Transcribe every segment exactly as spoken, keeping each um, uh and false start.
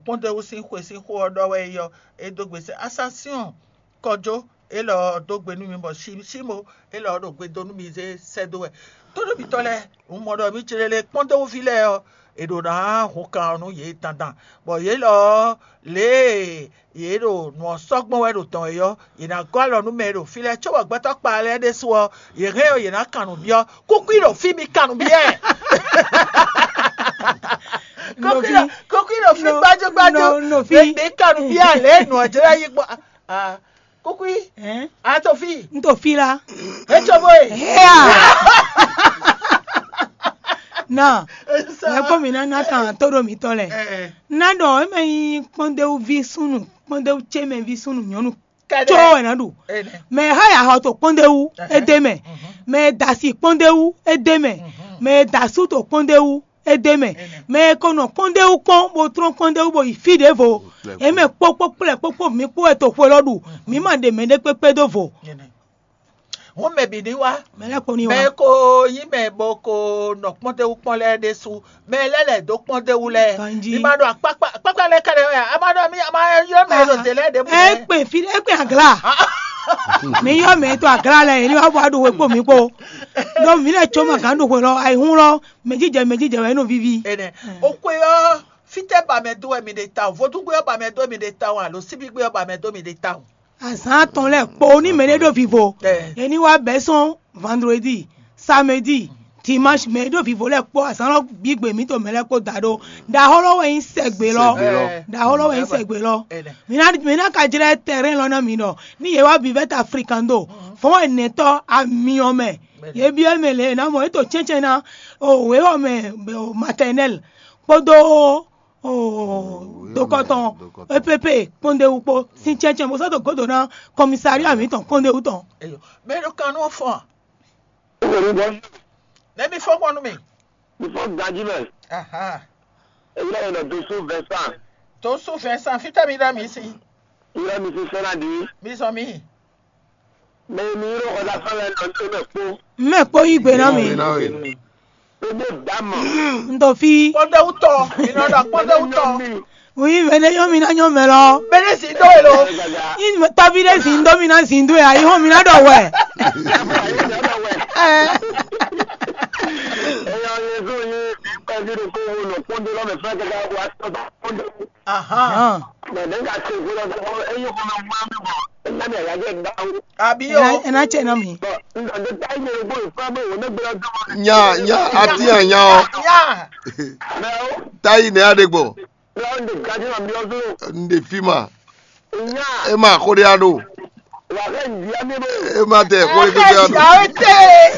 kpɔ́ndéwú sín xwe sín xó ɔ́ ɖɔ wɛ é yɔ, é dó gbe sɛ́ Asansyɔ́ɔn kɔjó élɔ́ ɔ́ dó gbe nú mi, bɔ Simo élɔ́ ɔ́ ɖo gbe dó nú mi zé sɛ́ dó wɛ. Tónúbitɔ́ lɛ́ɛ, un mɔ ɖɔ mǐ céɖéɖé kpɔ́ndéwúví lɛ́ɛ ɔ́, è ɖǒ ná hun kan ɔ́ nú yě dandan, bɔ yě lɔ ɔ́, lě e yě ɖo nǔ ɔ́ sɔ́ gbɔn wɛ ɖo dɔn é ɔ́, yě ná gɔ́ alɔ nú mɛ e ɖo fí lɛ́ɛ, cóbɔ gbɛtɔ́ kpa lɛ́ɛ ɖésú ɔ́, yě hɛn ɔ́, yě ná kan nǔ byɔ́. Kúkú ɖo fí mi kan nǔ byɔ́ ɛ. Kúkú ɖo fí gbájú gbájú. Mi kan nǔ byɔ́ ɛ lě e nǔ ɔ́ jlɛ́ yí gbɔn. Kúkú, a to fí? Un to fí lá. É cóbó e. Héa! Nɔ, lɛ́kpɔ́ mǐ ná ná kan tó ɖo mǐtɔn lɛ́ɛ. Ná ɖɔ é mɛ nyí kpɔ́ndéwúví súnnu, kpɔ́ndéwú ce mɛ ví súnnu nyɔ̌nu có wɛ ná ɖu. Mɛ e xá yi axɔ to kpɔ́ndéwú, é d'é mɛ. Mɛ e da asi kpɔ́ndéwú, é d'é mɛ. Mɛ e da asú to kpɔ́ndéwú, é d'é mɛ. Mɛ e ko nɔ kpɔ́ndéwú kpɔ́n, bó tlɔ́n kpɔ́ndéwú, bó yi fí ɖěvo. É mɛ kpó kpó kplɛ́ kpó kpó mǐ kpó wɛ toxo élɔ́ ɖu. Mǐ ma ɖe mɛɖé kpékpé dó vo. Hǔn mɛ bǐ ní wá. Mɛ lɛ́ɛ kpo ní wá. Mɛ e ko nyí mɛ bó ko nɔ kpɔ́ndéwú kpɔ́n lɛ́ɛ ɖésú, mɛ lɛ́ɛ lɛ̌ dó kpɔ́ndéwú lɛ́ɛ. Ganjí. Mi ma ɖo akpákpá akpákpá lɛ́ɛ ká lɛ́ɛ wɛ a, a ma ɖɔ mí a ma ylɔ́ mɛ e ɖo dě lɛ́ɛ ɖěbǔ. É kpe fí é kpe aglá. Mi ylɔ́ mɛ e to aglá lɛ́ɛ, yě ní wá bɔ aɖu hwe kpo mǐ kpo. Ɖó mǐ lɛ́ɛ có ma gǎn ɖu hwe lɔ, ayihún lɔ, mɛ jijɛ mɛ jijɛ wɛ é nɔ víví. Énɛ́. O xwe ɔ́, fítɛ́ ba mɛ dó wɛ mi ɖe tawun? Vodúngbé ɔ́ ba mɛ dó mi ɖe tawun alo síbígbé ɔ́ ba mɛ dó mi ɖe tawun? Azǎn atɔn lɛ́ɛ kpo ní mɛɖé ɖo vivo. Yě ní wá bɛ́ sɔ́n vandredi, samedi, dimanche, mɛ e ɖo vivo lɛ́ɛ kpó azǎn lɔ bǐ gbe mǐtɔn mɛ lɛ́ɛ kpó da ɖó. Ɖaxó lɔ wɛ nyí sɛgbe lɔ. Sɛgbe lɔ. Ɖaxó lɔ wɛ nyí sɛgbe lɔ. Mǐ ná mǐ ná ka jlɛ́ tɛrɛn lɔ ná mǐ ɖɔ ní yě wá vivɛ́ ta frikando fɔ́n wɛ nɛ̌tɔ́ amyɔ mɛ. Yě byɔ́ mɛ lě e ná mɔ é to cɛ́ncɛ́n ná o wěwɔ mɛ maternelle kpódó oo dokɔtɔn E P P kpɔ́ndéwú kpó sín cɛ́ncɛ́n bó sɔ́ dó gǒdo ná kɔmisariya mǐtɔn kpɔ́ndéwú tɔn. Mɛ ɖo kan nú fɔn. Nɛ́ mi fɔ́n gbɔn nú mi. Mi fɔ́n ganjí mɛ. Èyí lɛ yɛ nɔ dosú Vincent. Dosú Vincent, fítɛ́ mi ɖɔ mi sí? Ylɔ́ mi sín sɛ́n ná ɖi. Mi zɔn mi. Mɛ e mi ylɔ́ xɔ dá fɛn lɛ nɔ tó mɛ kpó. Mɛ kpó yí gbe ná mi. Gbé ná we. Gbé dá mɔ. N to fí. Kpɔ́ndéwútɔ, mi nɔ ɖɔ kpɔ́ndéwútɔ. Wí mɛ ɖé yɔ́n mi ná nyɔ́ mɛ lɔ. Mɛ ɖé zǐn dó e lo. Yí tɔ́ví ɖé zǐn dó mi ná zǐn dó e ayihɔn mi ná ɖɔ wɛ. Ɛ. Eyɔ Yezu yi kpɛví ɖokpó wo nɔ kpɔ́ndé lɔ mɛ fɛn kɛkɛ wa tɔ́ kpɔ́ndé. Ahán. Mɛ ɖé ka se gbé lɔ dó eyí xɔ mɛ wá mi bɔ ná mi ayá jɛ gbá. Àbí o. Ɛ ná tsɛ ná mi. Bɔ n dɔ dé tá yé gbó ìfá bó wò ní gbé lɔ dó. Nya nya ati anya ɔ. Nya. Mɛ o. Tayi nɛ aɖe gbɔ. Lɔ n de gadi ma biɔ dó. N de fi ma. Nya. E ma xo ɖe aɖo. Wà á fẹ́ ìdí á mi bó. E ma tɛ xo ɖe gbégbé aɖo. Ẹ ẹ ẹ.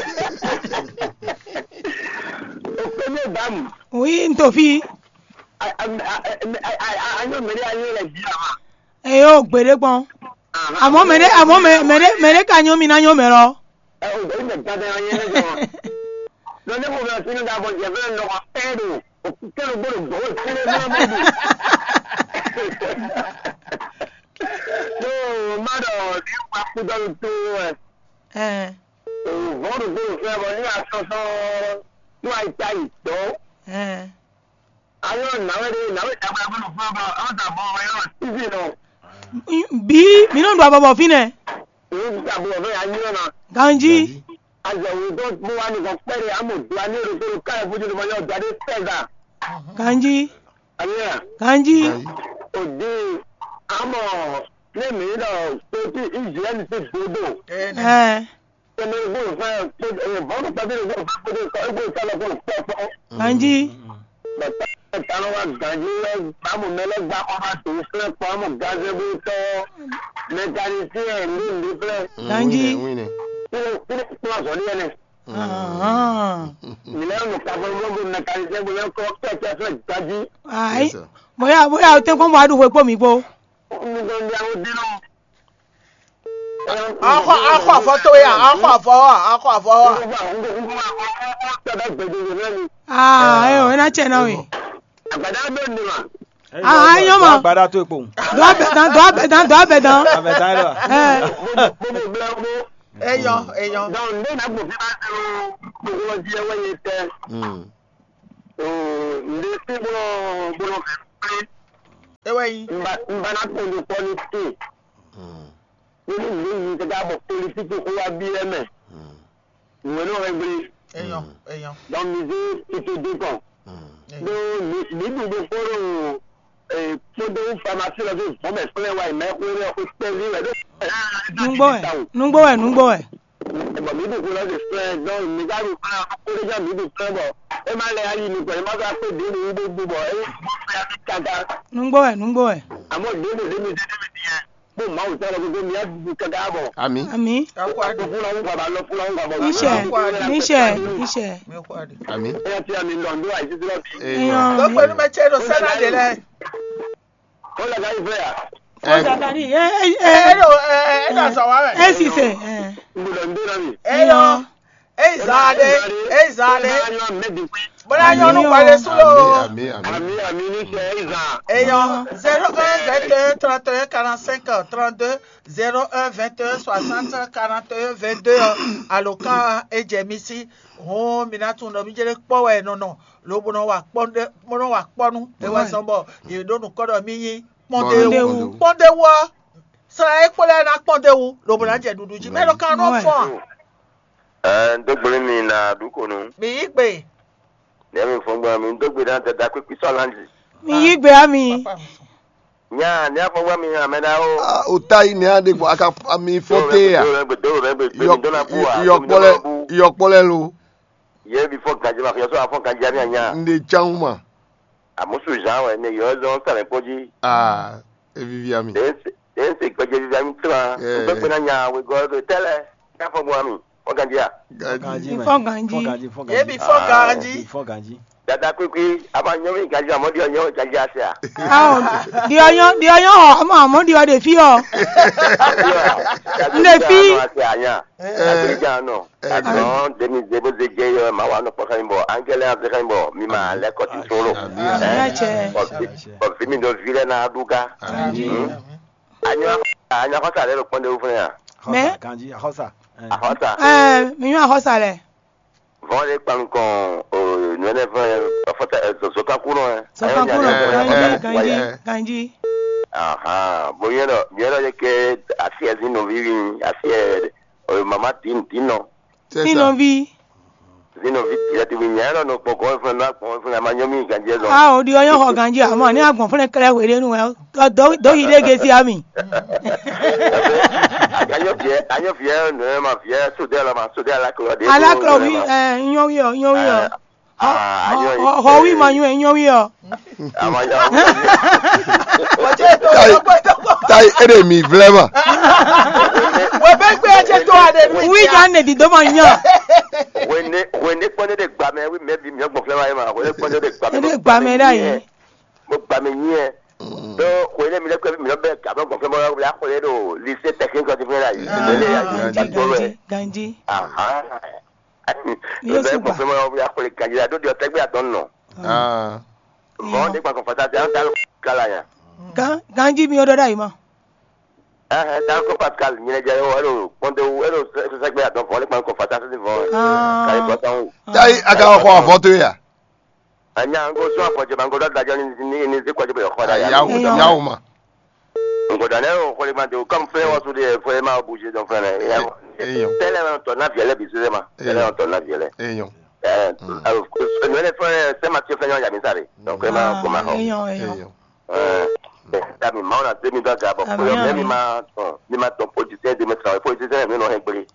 O pé mi bá mu. Oui, n to fi. Anyɔ mɛ ɖé anyɔ lɛ dzi ama. Eyo gbeɖe gbɔn. Àmọ́ mɛ ɖé àmọ́ mɛ mɛ ɖé mɛ ɖé ka nyɔ mi ná nyɔ mɛ lɔ. Ɛ o gbɛdí mɛ gbadá anyɔ lɛ jɔ. Lɔ ne ko bɛ sínú da bɔ jɛ fɛn nɔ ka pɛ do. O kɛ ló gbọ́dọ̀ gbọ́ o sínú fún mi. Tó o má dọ̀ ní wàá kú dọ́nu tó ẹ. Ẹ O vɔ̌ ɖo gbé fɛ bɔ ní asɔsɔ ní wàá ta yi dɔ̌. Ẹ. Ayɔ nàwé ɖe nàwé dàgbà gbé lò fún ẹ bɔ ẹ ta bɔ ẹ yọ títí nɔ. Bí mi nɔ ɖu abɔbɔ fínɛ́. Èyí ti ta bɔ fún yà nyí ọ̀nà. Ganji. Azɔ wò tó bó wà nìkan pẹ́ẹ́rẹ́ àmọ̀ dùn á ní èrò tó lò káyọ̀ fojú ló mọ yọ ọ̀dọ́ adé fẹ́ gbà. Ganji. Àbíyá. Ganji. Òde àmọ̀ ní èmi lọ pé tí Israẹli ti gbódò. Ẹ. Tẹ̀lé ìgbó ìfẹ́ pé vọ́dù pàdé ìgbó ìfẹ́ pé kọ́ ìgbó ìfẹ́ lọ kó pọ̀ pọ̀. Ganji. Bàtà ìtàn wa gàdí lẹ bámu mẹlẹ gba ọba tó fẹ́ pọ̀ àmọ̀ gazebo tọ́ mẹkanisíẹ̀ ní ìlú fẹ́. Ganji. Kí ló kí ló kí ló sọ ní ẹnẹ? Ahàn. Ìlẹ́ ọ̀nà kàfọ́ gbogbo mẹkanisíẹ̀ gbogbo ẹ̀kọ́ kẹ̀kẹ́ fẹ́ gbajú. Ayi. Bóyá bóyá o tẹ́ kó mọ adúgbò pọ̀ mí bó. Nígbà ní àwọn dín náà. Akɔ akɔ afɔ tó ya, akɔ afɔ wa, akɔ afɔ wa. Aa ɛ o ena tsɛ na we. Agbada bɛ ne ma. Aa ayɔ ma. Agbada tó ekpo. Dɔ abɛ dan, dɔ abɛ dan, dɔ abɛ dan. Abɛ dan yɛ lɔ. Ɛ. Eyɔ eyɔ. Donc ne na gbɔ fi ma se o gbogbo di ɛ wɛ ye tɛ. O ne se bɔ bɔ fɛ. É wɛ nyí. Un ba un ba ná kpɔ́n ɖo kpɔ́ ní tíin. Ní ní mǐ yi káká bɔ politíki xó wá byɔ́ mɛ. Nǔ e nɔ hɛn gblé. Èèyàn, èèyàn. Donc mi zé tete dé kɔn. Ɖó mǐ ɖu ɖokpó ɖo kpódó famasi lɔ dó vɔ̌ mɛ kplɛ́ wá yi mɛ xwé lɛ xwé kpɛví wɛ ɖó. Nungbo wɛ, nungbo wɛ, nungbo wɛ. Bɔ mǐ ɖu xwé lɔ dó kplɛ́, donc mǐ ka ɖu kplɛ́ xwé ɖé jɛ mǐ ɖu kplɛ́ bɔ é má lɛ ayi nukɔn, é má ka kpé ɖě ɖo wú ɖó bɔ é má fɛ káká. Nungbo wɛ, nungbo wɛ. Àmọ́ ɖě ɖo ɖě mi zé ɖé mi din yɛ. Kpó Mawu tɔn lɔ gbogbo mi á ɖu káká bɔ. Ami. Ami. Fúnra ń gbà bá lọ fúnra ń gbà bọ. Níṣẹ́, níṣẹ́, níṣẹ́. Ami. Ẹ ti àmì lọ ndó àìsí tí wọ́n fi. Èèyàn. Ló pẹ̀lú mẹ tiẹ̀ ló sẹ́nà dé lẹ. Ó lọ ká ìfẹ́ yà. Ó Zakari, ẹ ẹ ẹ Ẹ ló ẹ ẹ ẹ dà sọ wá rẹ̀. Ẹ sì sè. Ẹ. N gbọ́dọ̀ ndó náà mi. Ẹ yọ. Ẹ ìzà adé. Ẹ ìzà adé. Bọ́lá yọ ọdún parí súlò. Ami, ami, ami. Àmì àmì níṣẹ́ ìzà. Èèyàn zéro un vingt et un trente et un quarante-cinq trente-deux, zéro un vingt et un soixante quarante et un vingt-deux, alǒkan ejɛ mi sí. Hɔn mi ná tún ɖɔ mi jẹ́ kpɔ́ wɛ nɔ nɔ, lobo nɔ wa kpɔ́ ɖé, bó nɔ wa kpɔ́ nú. É wɛ sɔn bɔ yě ɖó nǔkɔ ɖɔ mi nyí kpɔ́ndéwu. Kpɔ́ndéwu ɔ́, sla e kpo lɛ́ɛ ná kpɔ́ndéwu, lobo ná jɛ ɖuɖu jí. Mɛ ɖo kan nɔ fɔn. Ɛɛ, n dó gblé mi na ɖu ko nu. Mi yí gbe. Nɛ̌ mi fɔn gbɔn mi dó gbe ná dada kpékpé sɔ́ lanji. Mi yí gbe ami. Nya, ní afɔ gbɔ mi hàn mɛ ɖa o. Ah, o ta yi nɛ aɖe gbɔ aka ami fɔ te ya. Dó rẹ gbé dó rẹ gbé gbé mi dó na bú wa. Yɔkpɔlɛ, yɔkpɔlɛ lo. Yɛ bi fɔ ganji ma fi yɔ sɔ afɔ ganji ami anya. N de tsan ma. Amusu zan wɛ ne yɔ zɔn sɛlɛ kpɔji. Ah, evivi ami. Den se gbɛjɛ vivi ami tran. N gbɛ gbɛ na nya wegɔ tɛlɛ. Ní afɔ gbɔ ami. Fɔ ganji a. Ganji. Fɔ ganji. Fɔ ganji. Fɔ ganji. Ebi fɔ ganji. Fɔ ganji. Dada kwikwi, a ma nyɔ mi ganji amɔ di ɔ nyɔ ganji ase a. Awo, di ɔ nyɔ, di ɔ nyɔ hɔ, amɔ amɔ di ɔ de fi ɔ. N de fi. Ase a nya. Abidjan nɔ. Agbɔn demi zebo ze jɛ yɔ ma wa nɔ kpɔkɛ mi bɔ angɛlɛ an fɛ mi bɔ mi ma lɛ kɔti solo. Ami ɛ cɛ. Ɔ fi mi dɔ vi lɛ na du ga. Ami. Anyɔ anyɔ kɔsa lɛ lɔ kpɔn de wo fɛnɛ ya. Mɛ. Ganji akɔsa. Akɔsa. Ɛɛ, mi nyɔ akɔsa lɛ. Vɔn ɖe kpan nukɔn o nɔnɛ fɛn fɔta zɔzɔkan kunɔ ɛ. Zɔzɔkan kunɔ, ganji, ganji, ganji. Ahan, bo nyɛ dɔ nyɛ dɔ yɛ kɛ asi ɛ zin nɔvi wi asi ɛ mama din din nɔ. Din nɔvi. Zin nɔvi din ɛ ti wi nyɛ dɔ nɔ kpɔkɔ fɛn nɔ akpɔn fɛn a ma nyɔ mi ganji ɛ zɔn. Ah, o di ɔyɔ xɔ ganji a ma ni agbɔn fɛnɛ kɛlɛ hwe ɖe nu ɛ. Dɔ dɔ yi ɖe gesi ami. Anyɔ fiɛ anyɔ fiɛ nɔ ma fiɛ sodɛ la ma sodɛ ala klɔ de. Ala klɔ wi ɛ nyɔ wi ɔ nyɔ wi ɔ. Hɔ wi ma nyɔ nyɔ wi ɔ. Tayi e de mi vlɛ ma. Webe gbe ɛ jɛ to a de nu. Wi jan ne di do ma nyɔ. Wende wende kpɔn ne de gba mɛ wi mɛ bi mi gbɔn flɛ ma ye ma wende kpɔn ne de gba mɛ. E de gba mɛ da yi. Mo gba mɛ nyi ɛ. Do wende mi lɛ kpɛ mi lɛ bɛ gabɛ gbɔn flɛ ma ya xɔ lɛ do lycée technique de flɛ la yi. Ganji, ganji, ganji. Aha. Yóò sì gbà. Fɛn mɔ ya xwlé ganji la ɖó ɖiɔ tɛgbɛ atɔn nɔ. Vɔn ne gbàgbọ́ fata tɛ an ta ló kala ya. Gan ganji mi o dɔ da yi ma. Ɛhɛn ta ko Pascal nyinɛ jɛ yɔ ɛlò kpɔnte wu ɛlò sɛgbɛ atɔn vɔn ne gbàgbọ́ fata sɛsɛ vɔn. Kali bɔtɔn wu. Tayi a ka xɔ avɔ to ya. Anya n ko sún afɔjɛ ma n ko dɔ dajɔ ni ni ni se kɔjɛ bɛ xɔ da ya. Yawu yawu ma. N ko dɔ ne o xɔli ma de o kɔmi fɛ wɔsu de fɔ e ma o bouger dɔn fɛnɛ. Eyo. Tɛlɛ ma tɔ na viɛlɛ bi sese ma. Tɛlɛ ma tɔ na viɛlɛ. Eyo. Ɛɛ alo nɔ ne fɛnɛ sɛ ma tiɛ fɛnɛ ya mi sa de. Donc e ma ko ma xɔ. Eyo eyo. Ɛɛ. Tabi maaw na se mi dɔ ga bɔ kuyɔ mɛ mi ma tɔn mi ma tɔn politisiyɛn de mi sɔn politisiyɛn mi nɔ hɛn gbeli.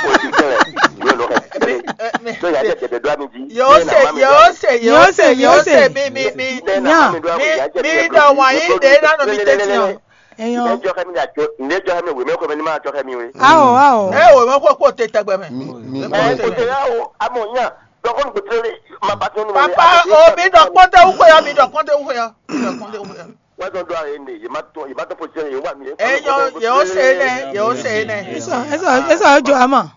Politisiyɛn mi nɔ hɛn gbeli. So ya jɛ jɛ do ami ji. Yose yose yose yose mi mi mi nya mi mi dɔ wan yi de na nɔ mi tɛti o. Eyan. Ne jɔ kɛ mi na jɔ ne jɔ kɛ mi weme ko mi ma jɔ kɛ mi we. Awo awo. E weme ko ko te tɛgbɛ mɛ. Mi mi. Ɛ o te ya o amɔ nya. Dɔgɔnu kò tẹ́lẹ̀ máa bá tún nínú. Papa o mi dɔ kpɔntɛ wúkɔ ya mi dɔ kpɔntɛ wúkɔ ya mi dɔ kpɔntɛ wúkɔ ya. Wọ́n tún dọ́ àyè ní yìí má tún yìí má tún pòṣẹ́ yìí wà mí. Eyɔn yóò ṣe é nẹ yóò ṣe é nẹ. Esa esa esa jọ ama.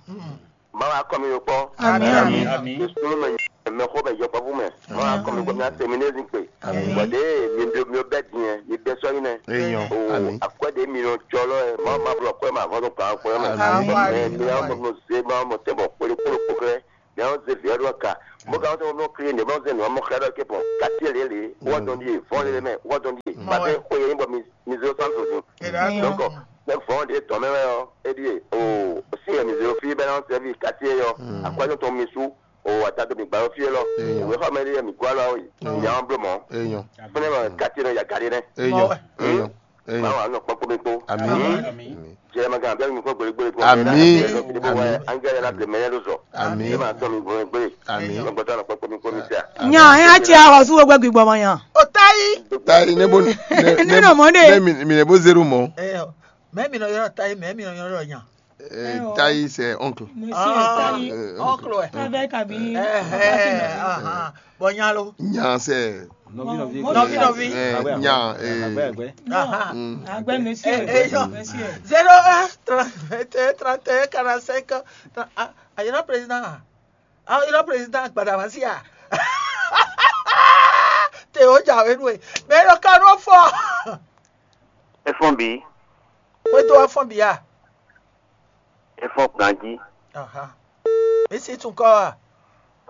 Máa wá kọ́ mi ló pọ́. Ami ami. Ìṣòro mẹ mẹ kó mẹ yọpọ fún mẹ. Máa wá kọ́ mi kó mi á tẹ̀mí ní ẹ̀sìn pé. Bọ̀dé mi bí mi bẹ́ dín yẹn mi bẹ́ sọ́yìn nẹ. Eyɔn ami. Akwẹ́dé mi lọ jọ lọ ẹ̀ máa ma bọ̀ kọ́ ẹ̀ máa fọ́n tó pa kọ́ ẹ̀ máa. Ami ami. Mi á mọ̀ mọ̀ ṣe máa mọ̀ tẹ̀ bọ̀ kpólé kpólé kpókẹ́. ɛ ɔ́ zé vǐ ɔ́ ɖó aka. Bó ka wá tó nɔ klé nǔ bó zé nǔ ɔ́ mɔ xlɛ́ ɖɔ cépɔn. Katí lě lě, wɔ dɔn ɖíe, vɔn lě mɛ, wɔ dɔn ɖíe. Bàtɛ xwe yɛ nyí bɔ mi mi zé sán so din. Donc, bɛ vɔn ɖě tɔn mɛ wɛ ɔ́, é ɖíe o sí wɛ mi zé fí bɛ ná sɛ́vi katí é ɔ́. Akwájɔ tɔn mi sú o ata tó mi gbá fí é lɔ. Òwe xɔ mɛ ɖíe mi gɔ́ alɔ yi. Nya ɔ́ bló mɔ. Enyɔ. Fúnɛ ma katí nɔ ya gari nɛ. Enyɔ. Enyɔ. Enyɔ. Báwo a nɔ kpɔ́kpɔ́ mi kpó. Ami. Jɛ ma gán abẹ́rẹ́ mi kó gbèrègbèrè kó. Ami. Angẹ́lẹ́ la bìlẹ̀ mẹ́lẹ́ ló zọ. Ami. Ẹ máa tọ́ mi gbèrègbèrè. Ami. Lọ́gbọ́dọ́ lọ pẹ́pẹ́ mi kó mi tẹ́. Nya, ẹ á tsi ahɔ sú gbogbo gbígbọ́ mọ nya. O tayi. Tayi ne bo ne ne ne nɔ mɔ ne. Ne mi mi ne bo zeru mɔ. Ẹ mɛ mi nɔ yɔrɔ tayi, mɛ mi nɔ yɔrɔ nya. Eh, tayi c'est oncle. Monsieur tayi. Oncle ɛ. Avec ami. Bɔ nya lo. Nya c'est. Nɔvi nɔvi. Eh, nya eh. Agbɛ monsieur. Monsieur. Zéro un trente et un trente et un quarante-cinq. Ah, ayina président. Ah, ayina président Gbadamasia. Te o ja we nue. Mais le cano fort. Efɔn bi. Kwédó afɔn bia. Efɔn ganjí. Aha. Misi tún kɔ wa.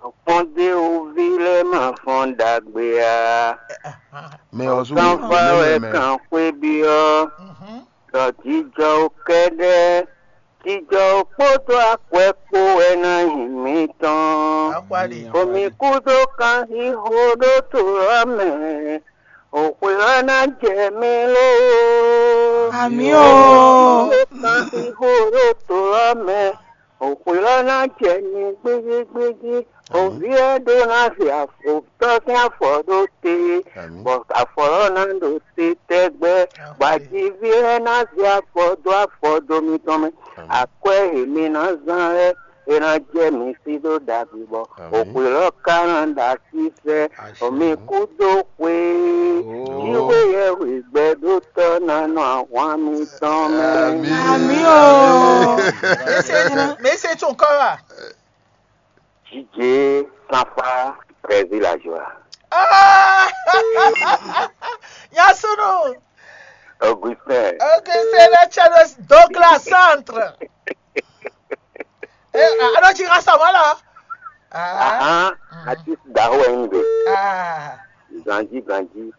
Kpɔndé oví lɛ́ɛ ma fɔn ɖagbe a. Mɛ ɔ́ sú Kanfa wɛ kan xwé byɔ́. Ɖɔ jijɔ kɛ́ɖɛ́. Jijɔ kpódó akwɛ́ kpó wɛ ná nyi mǐtɔn. Omi kúdó kanxixo ɖó to ɔ́ mɛ. Òxwe ɔ́ ná jɛ mì lóó. Amǐ o. Kanxixo ɖó to ɔ́ mɛ. Òxwe ɔ́ ná jɛ mi gbéjégbéjé. Òví ɔ́ ɖó ná se afɔtɔ́ sín afɔ ɖó te, bɔ afɔ ɔ́ ná ɖo te tɛgbɛ, bɔ ajiví ɔ́ ná se afɔ dó afɔ dó mitɔn mɛ. Akwɛ́ e mi ná zán lɛ́ɛ, é ná jɛ mi sí ɖó ɖagbe, bɔ òxwe ɔ́ ka ná ɖo así sɛ, bɔ mi kú dó xwe. Jíxwé yɛhwegbɛ́dótɔ́ ná nɔ ahwan mitɔn mɛ. Amǐ o. Mɛ se tún kɔ wa. Jijé Kanfa Brésil ajo a. Ah! Yasunu. Augustin. Augustin Lechanus Douglas Centre. Eh, ano ci rasa mala. Ah. Ah, artiste daho en de. Ah. Grandi, grandi.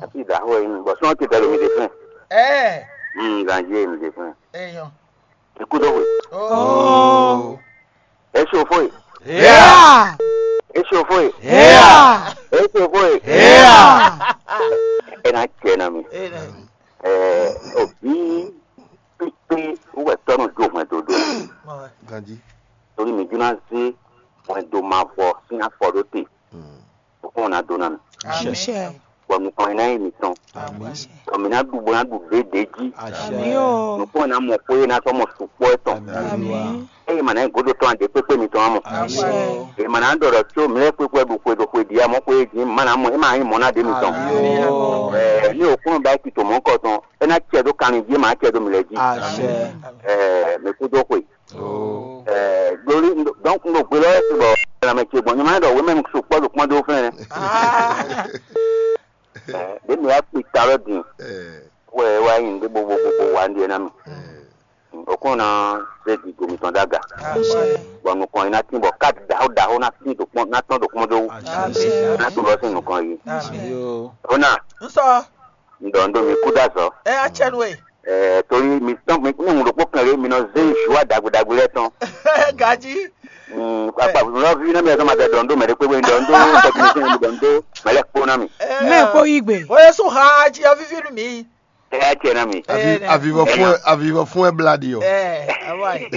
Artiste daho en. Bon, son qui est le milieu. Eh. Hmm, grandi en de. Eh, yo. Écoute, oui. Oh. Échauffé. Yeah! Échauffé. Yeah! Échauffé. Yeah! Ena tiɛ na mi. Ena. Eh, obi pipi uwe tɔnu jo hwɛn dodo. Ganji. Torí mi juna zé hwɛn do ma fɔ sín afɔ ɖó te. Kɔn na do na mi. Àmín. Bɔ nukɔn ná yi mi tɔn. Àmín. Bɔ mi ná ɖu bó ná ɖu ɖé ɖé jí. Àmín o. Nukɔn ná mɔ xwé ná sɔ mɔ sukpɔ etɔn. Àmín. Eye ma ná yi godo tɔn aɖe kpékpé mi tɔn amɔ. Àmín. Eye ma ná ɖɔ ɖɔ tso mi lɛ kpékpé ɖu xwe ɖo xwe ɖi amɔ xwé jí ma ná mɔ ema yi mɔ ná ɖe mi tɔn. Àmín. Ɛɛ ni o kúnnú ba ti tò mɔ kɔ tɔn e ná cɛ ɖó kanlin jí ma cɛ ɖó mi lɛ jí. Àmín. Ɛɛ mi kú dó xwe. Ɛɛ ɖoli donc n ɖo gbe lɔ wɛ bɔ lanmɛ ce gbɔn nyɔmɔ ɖɔ wemɛ sukpɔ ɖo kpɔn ɖó fɛn. Ɖe mi wá kpi ta lɔ din wɛ wá nyi ɖe bo bo bo bo wá ɖie ná mi. Okun na se di gomi tɔn daga. Bɔn nukɔn yi na tin bɔ kat daho daho na tin do kpɔn na tɔn do kpɔn do wu. Na to lɔ sin nukɔn yi. Ona. Nsɔ. N ɖɔ n ɖo mi kú dó azɔ. Ɛ atsɛnu e. Ɛɛ torí mi tɔn mi ní ŋun ɖokpó kan lé mi nɔ zé joie dagbe dagbe lɛ tɔn. Gaji. Akpa lɔvi na mi ɛsɛ ma tɛ ɖɔ n ɖo mɛ ɖe kpékpé ɖɔ n ɖo technicien mi ɖɔ n ɖo mɛ lɛ kpó na mi. Mɛ kpó yí gbe. O ye sún ha jí ɔvivi nu mi. Ɛ atsɛ na mi. Avi avivɔ fún ɛ avivɔ fún ɛ bla di o. Ɛ awa yi.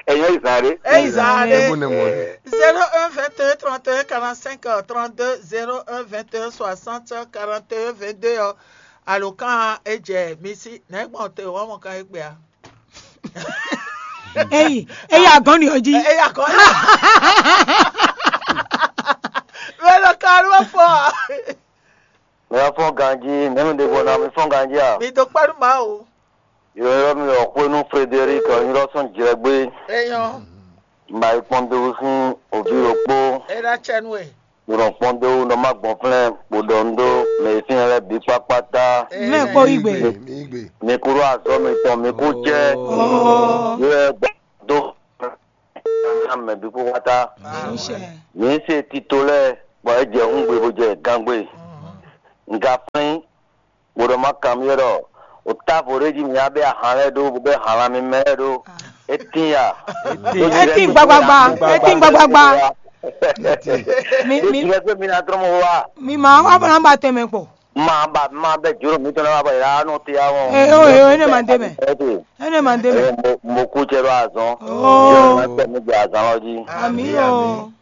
Ɛyɛ izan ɖe. Ɛ izan ɖe. Ɛ bó ne mɔ. Zéro un vingt et un trente et un quarante-cinq trente-deux, zéro un vingt et un soixante quarante et un vingt-deux ɔ. Alo kan e jɛ mi si nɛ gbɔn te wɔn mɔ kan egbe a. Eyi eyi agɔn ni o ji. Eyi agɔn ni. Mɛ lɔ kan ló fɔ. Mi wá fɔ́n ganjí, mɛ̌ mi ɖe gbɔ ná mi fɔ́n ganjí a? Mi dó kpɛ́ nú Mawu. Yǒyɔ́ mi wɔ xwé nú Frederic ɔ́, nyí lɔ sɔ́n jlɛ́gbé. Eyɔn. Mba yi kpɔ́n dó sín òbí ɖokpó. É ná cɛ nú we. Nɔ kpɔ́n dó nɔ má gbɔn flɛ́n bó ɖɔ nú ɖó mɛ e fínɛ́ lɛ́ɛ bǐ kpákpátá. Mɛ kpó yí gbe. Mi kúrò azɔ́ mitɔn, mi kú jẹ́. Yě wɛ gbà dó. ná mɛ bǐ kpó xwata. Mǐ se tito lɛ́ɛ bɔ é jɛ hǔngbe bó jɛ gángbe. Un ka flín bó ɖɔ má kanbyɔ́ ɖɔ o távo ɖé jí mǐ wá bɛ́ ahan lɛ́ɛ ɖó, bó bɛ́ ahan lan mímɛ́ lɛ́ɛ ɖó. É tín ya. É tín gbagbagba. É tín gbagbagba. Mi mi jɛ pé mi ná trɔ́ mɔ wá. Mi ma wá bɔ ná ba tɛnmɛ kpɔ. Ma ba ma bɛ juro mi tɔn na ba ya no te ya mo. Eh, oh, eh, oh, ene ma debe. Ene ma debe. Mo mo ku che ro azɔn. Oh. Mo tɛ mi jɛ azɔn lɔ ji. Ami o.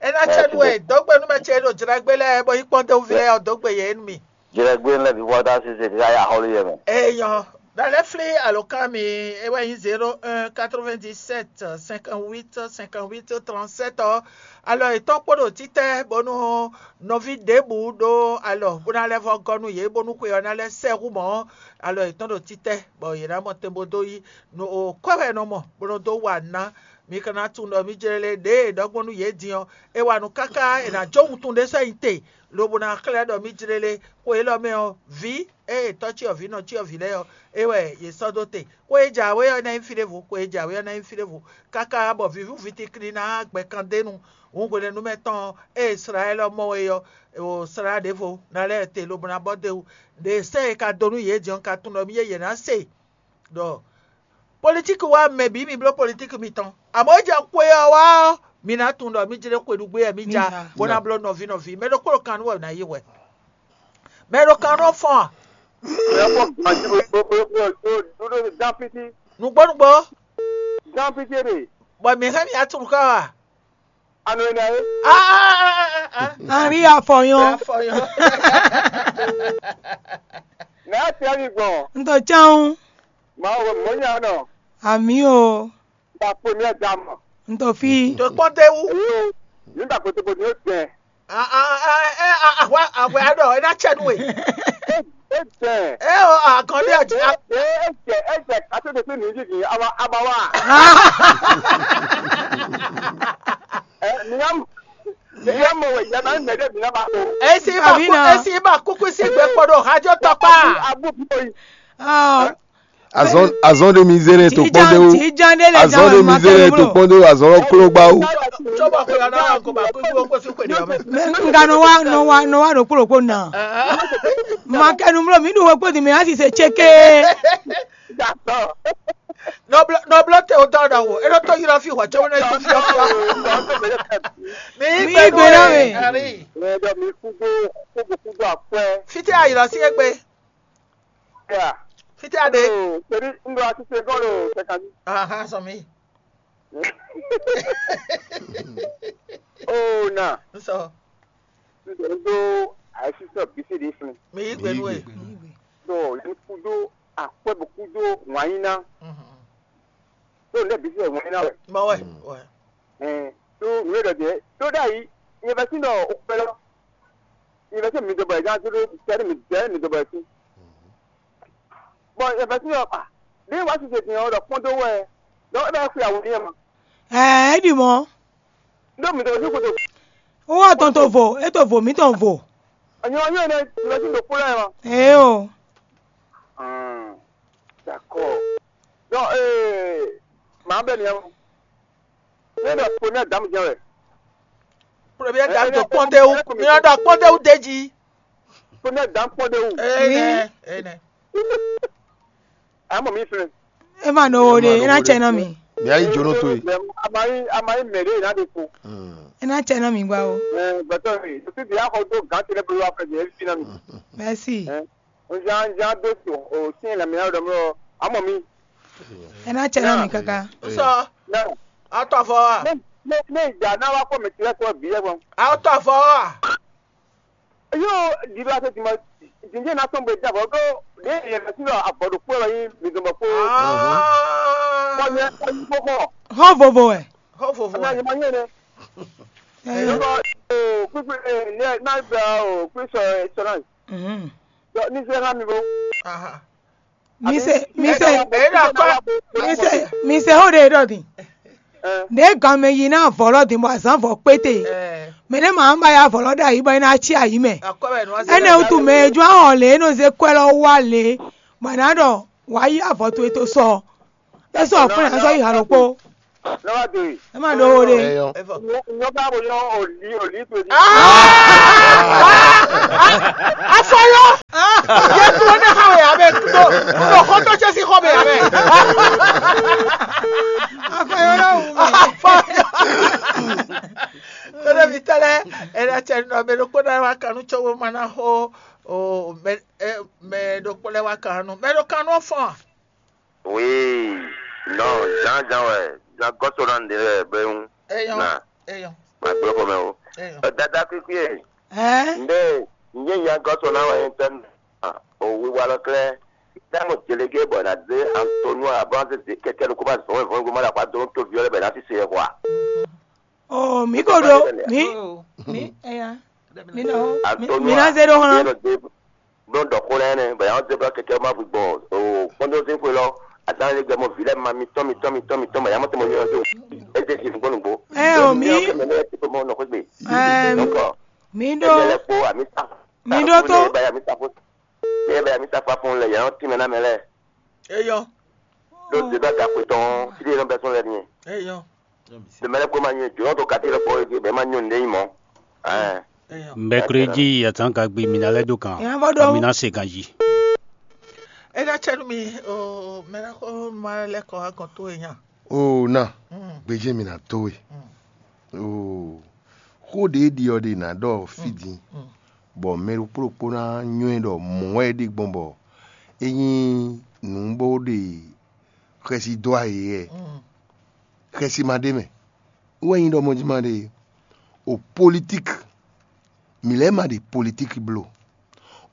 Ena che nu e dogbe nu ma che ɖo jragbe lɛ bɔ yi kpɔn de uvi lɛ dogbe ye nu mi. Jragbe lɛ bi wɔ da se se ka ya hɔlu ye mɛ. Eh, yo. Na lɛ fli alokan mi e wɛ yin zéro un quatre-vingt-dix-sept cinquante-huit cinquante-huit trente-sept ɔ. Alɔ etɔn kpo ɖo títɛ bɔnu nɔví ɖěbǔ ɖó alɔ bó ná lɛ́ vɔ́ gɔ́ nú yě bónú xwe ɔ́ ná lɛ́ sɛ hú mɔ̌. Alɔ yětɔn ɖo títɛ bɔ yě ná mɔ tɛn bó dó yí nú o kwɛ́ wɛ è nɔ mɔ bó nɔ dó wa ná. Mi ka ná tunwun ɖɔ mí jlé lé ɖěe è ɖɔ gbɔn nú yě din ɔ́, é wa nú káká è nǎ jó wuntun ɖé sɔ́ nyi te, lobo ná xlɛ́ ɖɔ mí jlé lé. Xwe élɔ́ mɛ ɔ́, vǐ e è tɔ́ cyɔvǐ nɔ cyɔvǐ lɛ́ɛ ɔ́, é wɛ yě sɔ́ dó te. Xwe e jǎwe ɔ́ ná nyí fí ɖěvo, xwe e jǎwe ɔ́ ná nyí fí ɖěvo, káká bɔ vǐvú vǐtikli ná gbɛ kan dó e nu. Hǔn hwenɛ́nu mɛ tɔn e è slá ɛ lɔ mɔ é ɔ́, è slá ɖěvo ná lɛ́ te lobo ná bɔ dó e wú. Ɖě sɛ́ e ka dó nú yě din ɔ́ ka tunwun ɖɔ mì yě yě ná se ɖɔ politíki wá mɛ bǐ mi bló politíki mitɔn. Amɔ̌ é jɛ xwe ɔ́ wá ɔ́, mi ná tunwun ɖɔ mí jlé xwe ɖu gbé wɛ mí ja, bó ná bló nɔví nɔví. Mɛ ɖokpó ɖo kan nú wɛ ná yi hwɛ. Mɛ ɖo kan nɔ fɔn a? Dán fiti. Nǔgbó nǔgbó. Dán fiti ɖe. Bɔ mǐ hɛn mì atún kɔ a? Anu ene ayi. Henri afɔyɔn. Afɔyɔn. Nɛ a tiɛ mi gbɔn. N to chan. Ma wo mo nya nɔ. Ami o. Ba première dame. N to fi. To kpɔn te wu. Eyo. Nígbà kó tó bó ni ó tẹ̀. Ahwa ahwa aɖɔ ena tsɛ nu we. Ejɛ. E o akɔnbi ati. Ejɛ ejɛ kato de fi nu jiji aba aba wa. Ɛ nìyam nìyam mɔ wɛ yaba mɛ de bi na ba ko. Esi ba ku esi ba kuku si gbe kpɔɖo hajɔ tɔkpa. Abu bi oyi. Azɔn azɔn de mizere to kpɔn de wo. Azɔn de mizere to kpɔn de wo, azɔn lɔ klo gba wo. N ka nɔ wa nɔ wa nɔ wa ɖokpó ɖokpó na. Ma kɛ nu mlɔ mi ɖu wekpo di mi asi se tseke. Nɔblɔ te o dɔ ɖɔ wo e ɖo to yi lɔ fi hɔ tso ne tu fi fi. Mi yi gbe na mi. Mi yi gbe na mi. Ɛdɔ mi kudo kudo kudo akwɛ. Fiti ayi lɔ si egbe. Ya. Fiti a ɖe. Oh, torí n ɖo asise gɔn ɖo sɛkanti. Ahan sɔ mi. Oh na. N sɔ. N ɖo n ɖo asise bisi ɖe fun. Mi yi gbenu e. Do yɛn kudo akwɛ bo kudo wanyina. Do ne bisi wanyina wɛ. Mɔ wɛ. Wɛ. Ɛn, ɖó nǔ e ɖɔ jɛ ɖó ɖ'ayǐ, nyɛ vɛ́ sín ɖɔ o kpɛ́ lɔ, nyɛ vɛ́ sín mi dɔbɔ yɛ gán tó ɖó sɛ́ mi dɛ́ mi dɔbɔ yɛ sín. Bɔ nyɛ vɛ́ sín ɖɔ a ɖě wá sise din ɔ́ ɖɔ kpɔ́n dó wɛ, ɖɔ é bɛ xwe awu n'i ma. Ɛɛ, é ɖi mɔ̌. Ɖó mi dɔbɔ sín xwe to. Wó wá tɔn to vo, é to vo mǐtɔn vo. Anyɔ anyɔ ne mi vɛ́ sín ɖo kpó lɛ́ɛ ma. Ee o. D'accord. Donc, euh, maa bɛ nia. Ne ɖɔ première dame jɛn wɛ. Première dame to kpɔntewu. Mi nɔ ɖɔ kpɔntewu deji. Première dame kpɔntewu. Ene, ene. Amɔ mi fɛn. E ma nɔ wo de, e na tsɛ nɔ mi. Mi ayi jono to yi. Amayi amayi mɛ de na de ko. E na tsɛ nɔ mi gba o. Ɛɛ, gbɛtɔ mi, o ti di akɔ do gan ti lɛ bolo afɛ de, e fi na mi. Merci. Nzan nzan do to o sin la mi na dɔ mɔ amɔ mi. E na tsɛ nɔ mi kaka. Sɔ. Na. Atɔ fɔ wa. Ne ne ne ja na wa kɔ mi ti lɛ kɔ bi yɛ gbɔn. Atɔ fɔ wa. Yo, di do ase di ma di ne na tɔn be ja bɔ do de yɛ na ti lɔ abɔ do kpɔ lɔ yi mi dɔn bɔ kpɔ. Kɔ yɛ kɔ yi kpɔ kɔ. Hɔn vovo ɛ. Hɔn vovo ɛ. Ana yɛ ma yɛ ne. Ɛɛ. Yo kɔ o kpikpi ne na gba o kpisɔ sɔrɔ. Mhm. Ní sẹ́ há mi bó. Mise mise mise mise ho ɖe ɖɔ din. Ɖe ganmɛ yi na vɔlɔ din bɔ azan vɔ kpete. Mɛ ne ma ba ya vɔlɔ ɖe ayi bɔ ina tsi ayi mɛ. Ene wutu mɛ ju ahɔn le eno ze kwɛ lɔ wa le. Bɔ na ɖɔ wa yi avɔ to eto sɔ. Esɔ kpɛn azɔ yi halo kpo. Nɔ́ wá do e. É má ɖó wo ɖe. Ẹyọ. Nyɔ bá bo nyɔ òlí òlí tó di. Afɔyɔ. Yɛ kúrò ní xawe abɛ tó tó xɔtɔ cɛ sí xɔ bɛ abɛ. Afɔyɔ náà wù mí. Tɔɖɔ mi tɛlɛ, ɛnɛ cɛ nɔ mɛ ɖokpó náà wá kanu cɔwó ma ná xó o mɛ mɛ ɖokpó lɛ wá kanu mɛ ɖo kanu fɔn. Oui, non, Jean Jean wɛ, Jean Gɔsɔlan ɖe wɛ bɛn. Eyɔn, na eyɔn, ma gblɔ xɔmɛ o. Eyɔn. Dada kikui e. Ɛɛ. Nde nyɛ Jean Gɔsɔlan wɛ nyɛ tɛn o wiwa lɔ klɛ. Tɛmɔ jelege bɔ na de Antonio abɔ se de kɛkɛ lukuma zɔn vɔn goma la kwa do to viɔlɛ bɛ na ti se yɛ kwa. Oh, mi ko do mi mi eya mi na mi na ze do hɔn. Blɔ dɔ xó lɛ nɛ bɛ yan ze blɔ kɛkɛ ma bu gbɔn o kpɔndɔ ze xwe lɔ azan le gbɛ mɔ vi lɛ ma mi tɔn mi tɔn mi tɔn mi tɔn ma yamɔ tɛ mɔ yɔ do e ze si gbɔn nugbo. Ɛ o mi mɛ ne ti ko mɔ nɔ xwe gbe. Ɛɛ Donc mi do ɛlɛ kpo ami sa mi do to ba ami sa fo ne ba ami sa fa fun lɛ yan ti mɛ na mɛ lɛ. Eyɔn. Ɖó Zedɔ́ ka xwe tɔn ɔ́, fí ɖé nɔ bɛ́ sɔ́ lɛ́ɛ n'i. Eyɔn. Ɖo mɛ lɛ́ɛ kpó ma nyɔ́ jǒnɔ dó katí lɛ́ɛ kpó é bɛ́ ma nyɔ́ nǔɖé nyí mɔ̌. Ɛɛ. Eyɔn. Mɛkúréjí atán ka gbe mi ná lɛ́ dó kan, Ìyá bɔ ɖɔ. Mi ná se ganjí. É ná cɛ nú mi o mɛ ná xó ma lɛ́ kɔ wá gɔn tó e nya. Oo ná, Mm. Gbéjé mi ná tó we. Mm. Oo, xó ɖě ɖi ɔ́ ɖe nǎ ɖɔ fí din, Mm. Bɔ mɛ ɖokpó ɖokpó ná nywɛ́ ɖɔ mɔ̌ wɛ é ɖe gbɔn bɔ é nyí nǔ bó ɖe xɛsi dó ayǐ wɛ. Mm. Xɛsi ma ɖ'é mɛ. É wɛ nyí ɖɔ mɔjí ma ɖe o politíki, mǐ lɛ́ɛ ma ɖe politíki bló.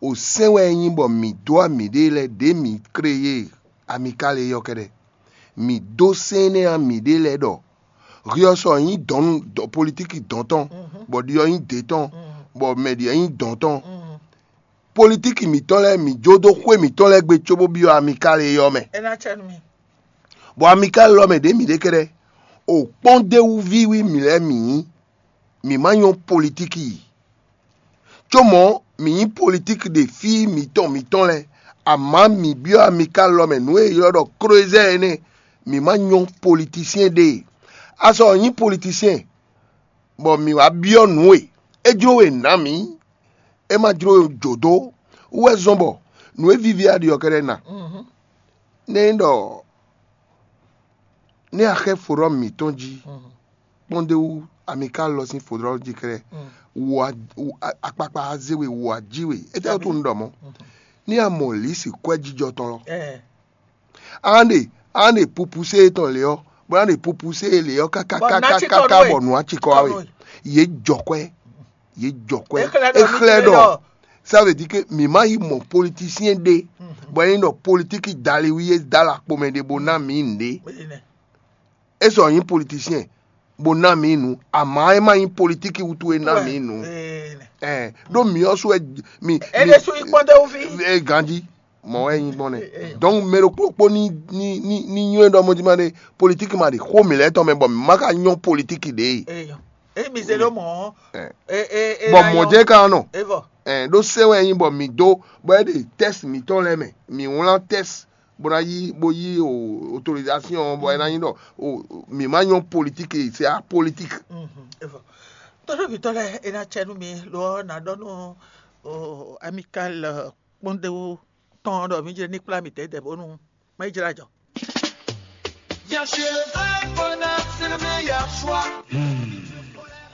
O sɛ́n wɛ é nyí bɔ mǐ dó amǐɖée lɛ́ɛ ɖě mǐ kléyé amikál é ɔ́ kɛ́ɖɛ́. Mǐ dó sɛ́n énɛ́ ɔ́ amǐɖée lɛ́ɛ ɖɔ hwi ɔ́ sɔ nyí dɔ̌n politíki dɔ̌n tɔn, bɔ ɖi ɔ́ nyí dě tɔn, bɔ mɛ ɖi ɔ́ nyí dɔ̌n tɔn. Politíki mǐtɔn lɛ́ɛ mǐ jó dó xwé mǐtɔn lɛ́ɛ gbe cóbó byɔ́ amikál é ɔ́ mɛ. É ná cɛ nú mi. Bɔ amikál ɔ́ mɛ ɖě mǐ ɖe kɛ́ɖɛ́, o kpɔ́n d'é wú ví wí mǐ lɛ́ɛ mǐ nyí. Mǐ ma nyɔ́ politíki yi. Có mɔ̌, mǐ nyí politíki ɖe fí mǐtɔn mǐtɔn lɛ́ɛ, amǎ mǐ byɔ́ amikál lɔ mɛ nǔ e è ylɔ́ ɖɔ klóézɛ́ énɛ́, mǐ ma nyɔ́ politísyɛn ɖe. A sɔ nyí politísyɛn, bɔ mǐ wá byɔ́ nǔ e é jló we nǎ mǐ, é ma jló we jǒ dó wú wɛ zɔ́n bɔ nǔ e víví a ɖi ɔ́ kɛ́ɖɛ́ ná. Nɛ́ nyí ɖɔ nɛ́ a xɛ́ fodrɔ́ mǐtɔn jí kpɔ́n d'é wú amikál lɔ sín fodrɔ́ jí kɛ́ɖɛ́, akpakpa a zé we, wǔ a jí we. Étɛ́ wútu un ɖɔ mɔ̌? Ní a mɔ lǐsi kwɛ́ jijɔ tɔn lɔ, a nǎ ɖe a nǎ ɖe pupusé tɔn lě ɔ́, bó ná ɖe pupusé lě ɔ́ káká káká bɔ nǔ á cikɔ wá we. Yě jɔ kwɛ́, yě jɔ kwɛ́. É xlɛ́ ɖɔ ça veut dire que mǐ má yi mɔ politisiyɛn ɖé bɔ é nyí ɖɔ politíki dali wí é dó alɔ akpo mɛ ɖé bó ná mǐ nǔɖé. É sɔ nyí politisiyɛn bó ná mǐ nǔ, amǎ é má nyí politíki wútu é ná mǐ nǔ. Ɛɛ, ɖó mǐ ɔ́ sú wɛ mi. É ɖésú nyí kpɔ́ndéwúví. Ganjí mɔ̌ wɛ é nyí gbɔn nɛ́. Donc mɛ ɖokpó ɖokpó ní ní ní ní nywɛ́ ɖɔ mɔjima ɖé, politíki ma ɖi xó mǐ lɛ́ɛ tɔn mɛ bɔ mǐ má ka nyɔ́ politíki ɖě. Emi zé ɖó mɔ̌. Bɔ mɔ̌ jɛ ka nɔ. Evɔ. Ɖó sɛ́n wɛ é nyí bɔ mǐ dó bɔ é ɖe tɛ́si mǐtɔn lɛ́ɛ mɛ, mǐ wlán tɛ́si bó ná yí bó yí autorisation bɔ é ná nyí ɖɔ mǐ má nyɔ́ politíki, c'est apolitique. Tɔ́ɖɔ́vǐtɔ́ lɛ́ɛ, é ná cɛ nú mi lo ɔ́ ná ɖɔ nú amikal kpɔ́ndéwú tɔn ɖɔ mǐ jlɛ́ ní kplá mǐtɛn dɛ bónú má yi jlá jɔ. Bien sûr, le vrai bonheur, c'est le meilleur choix.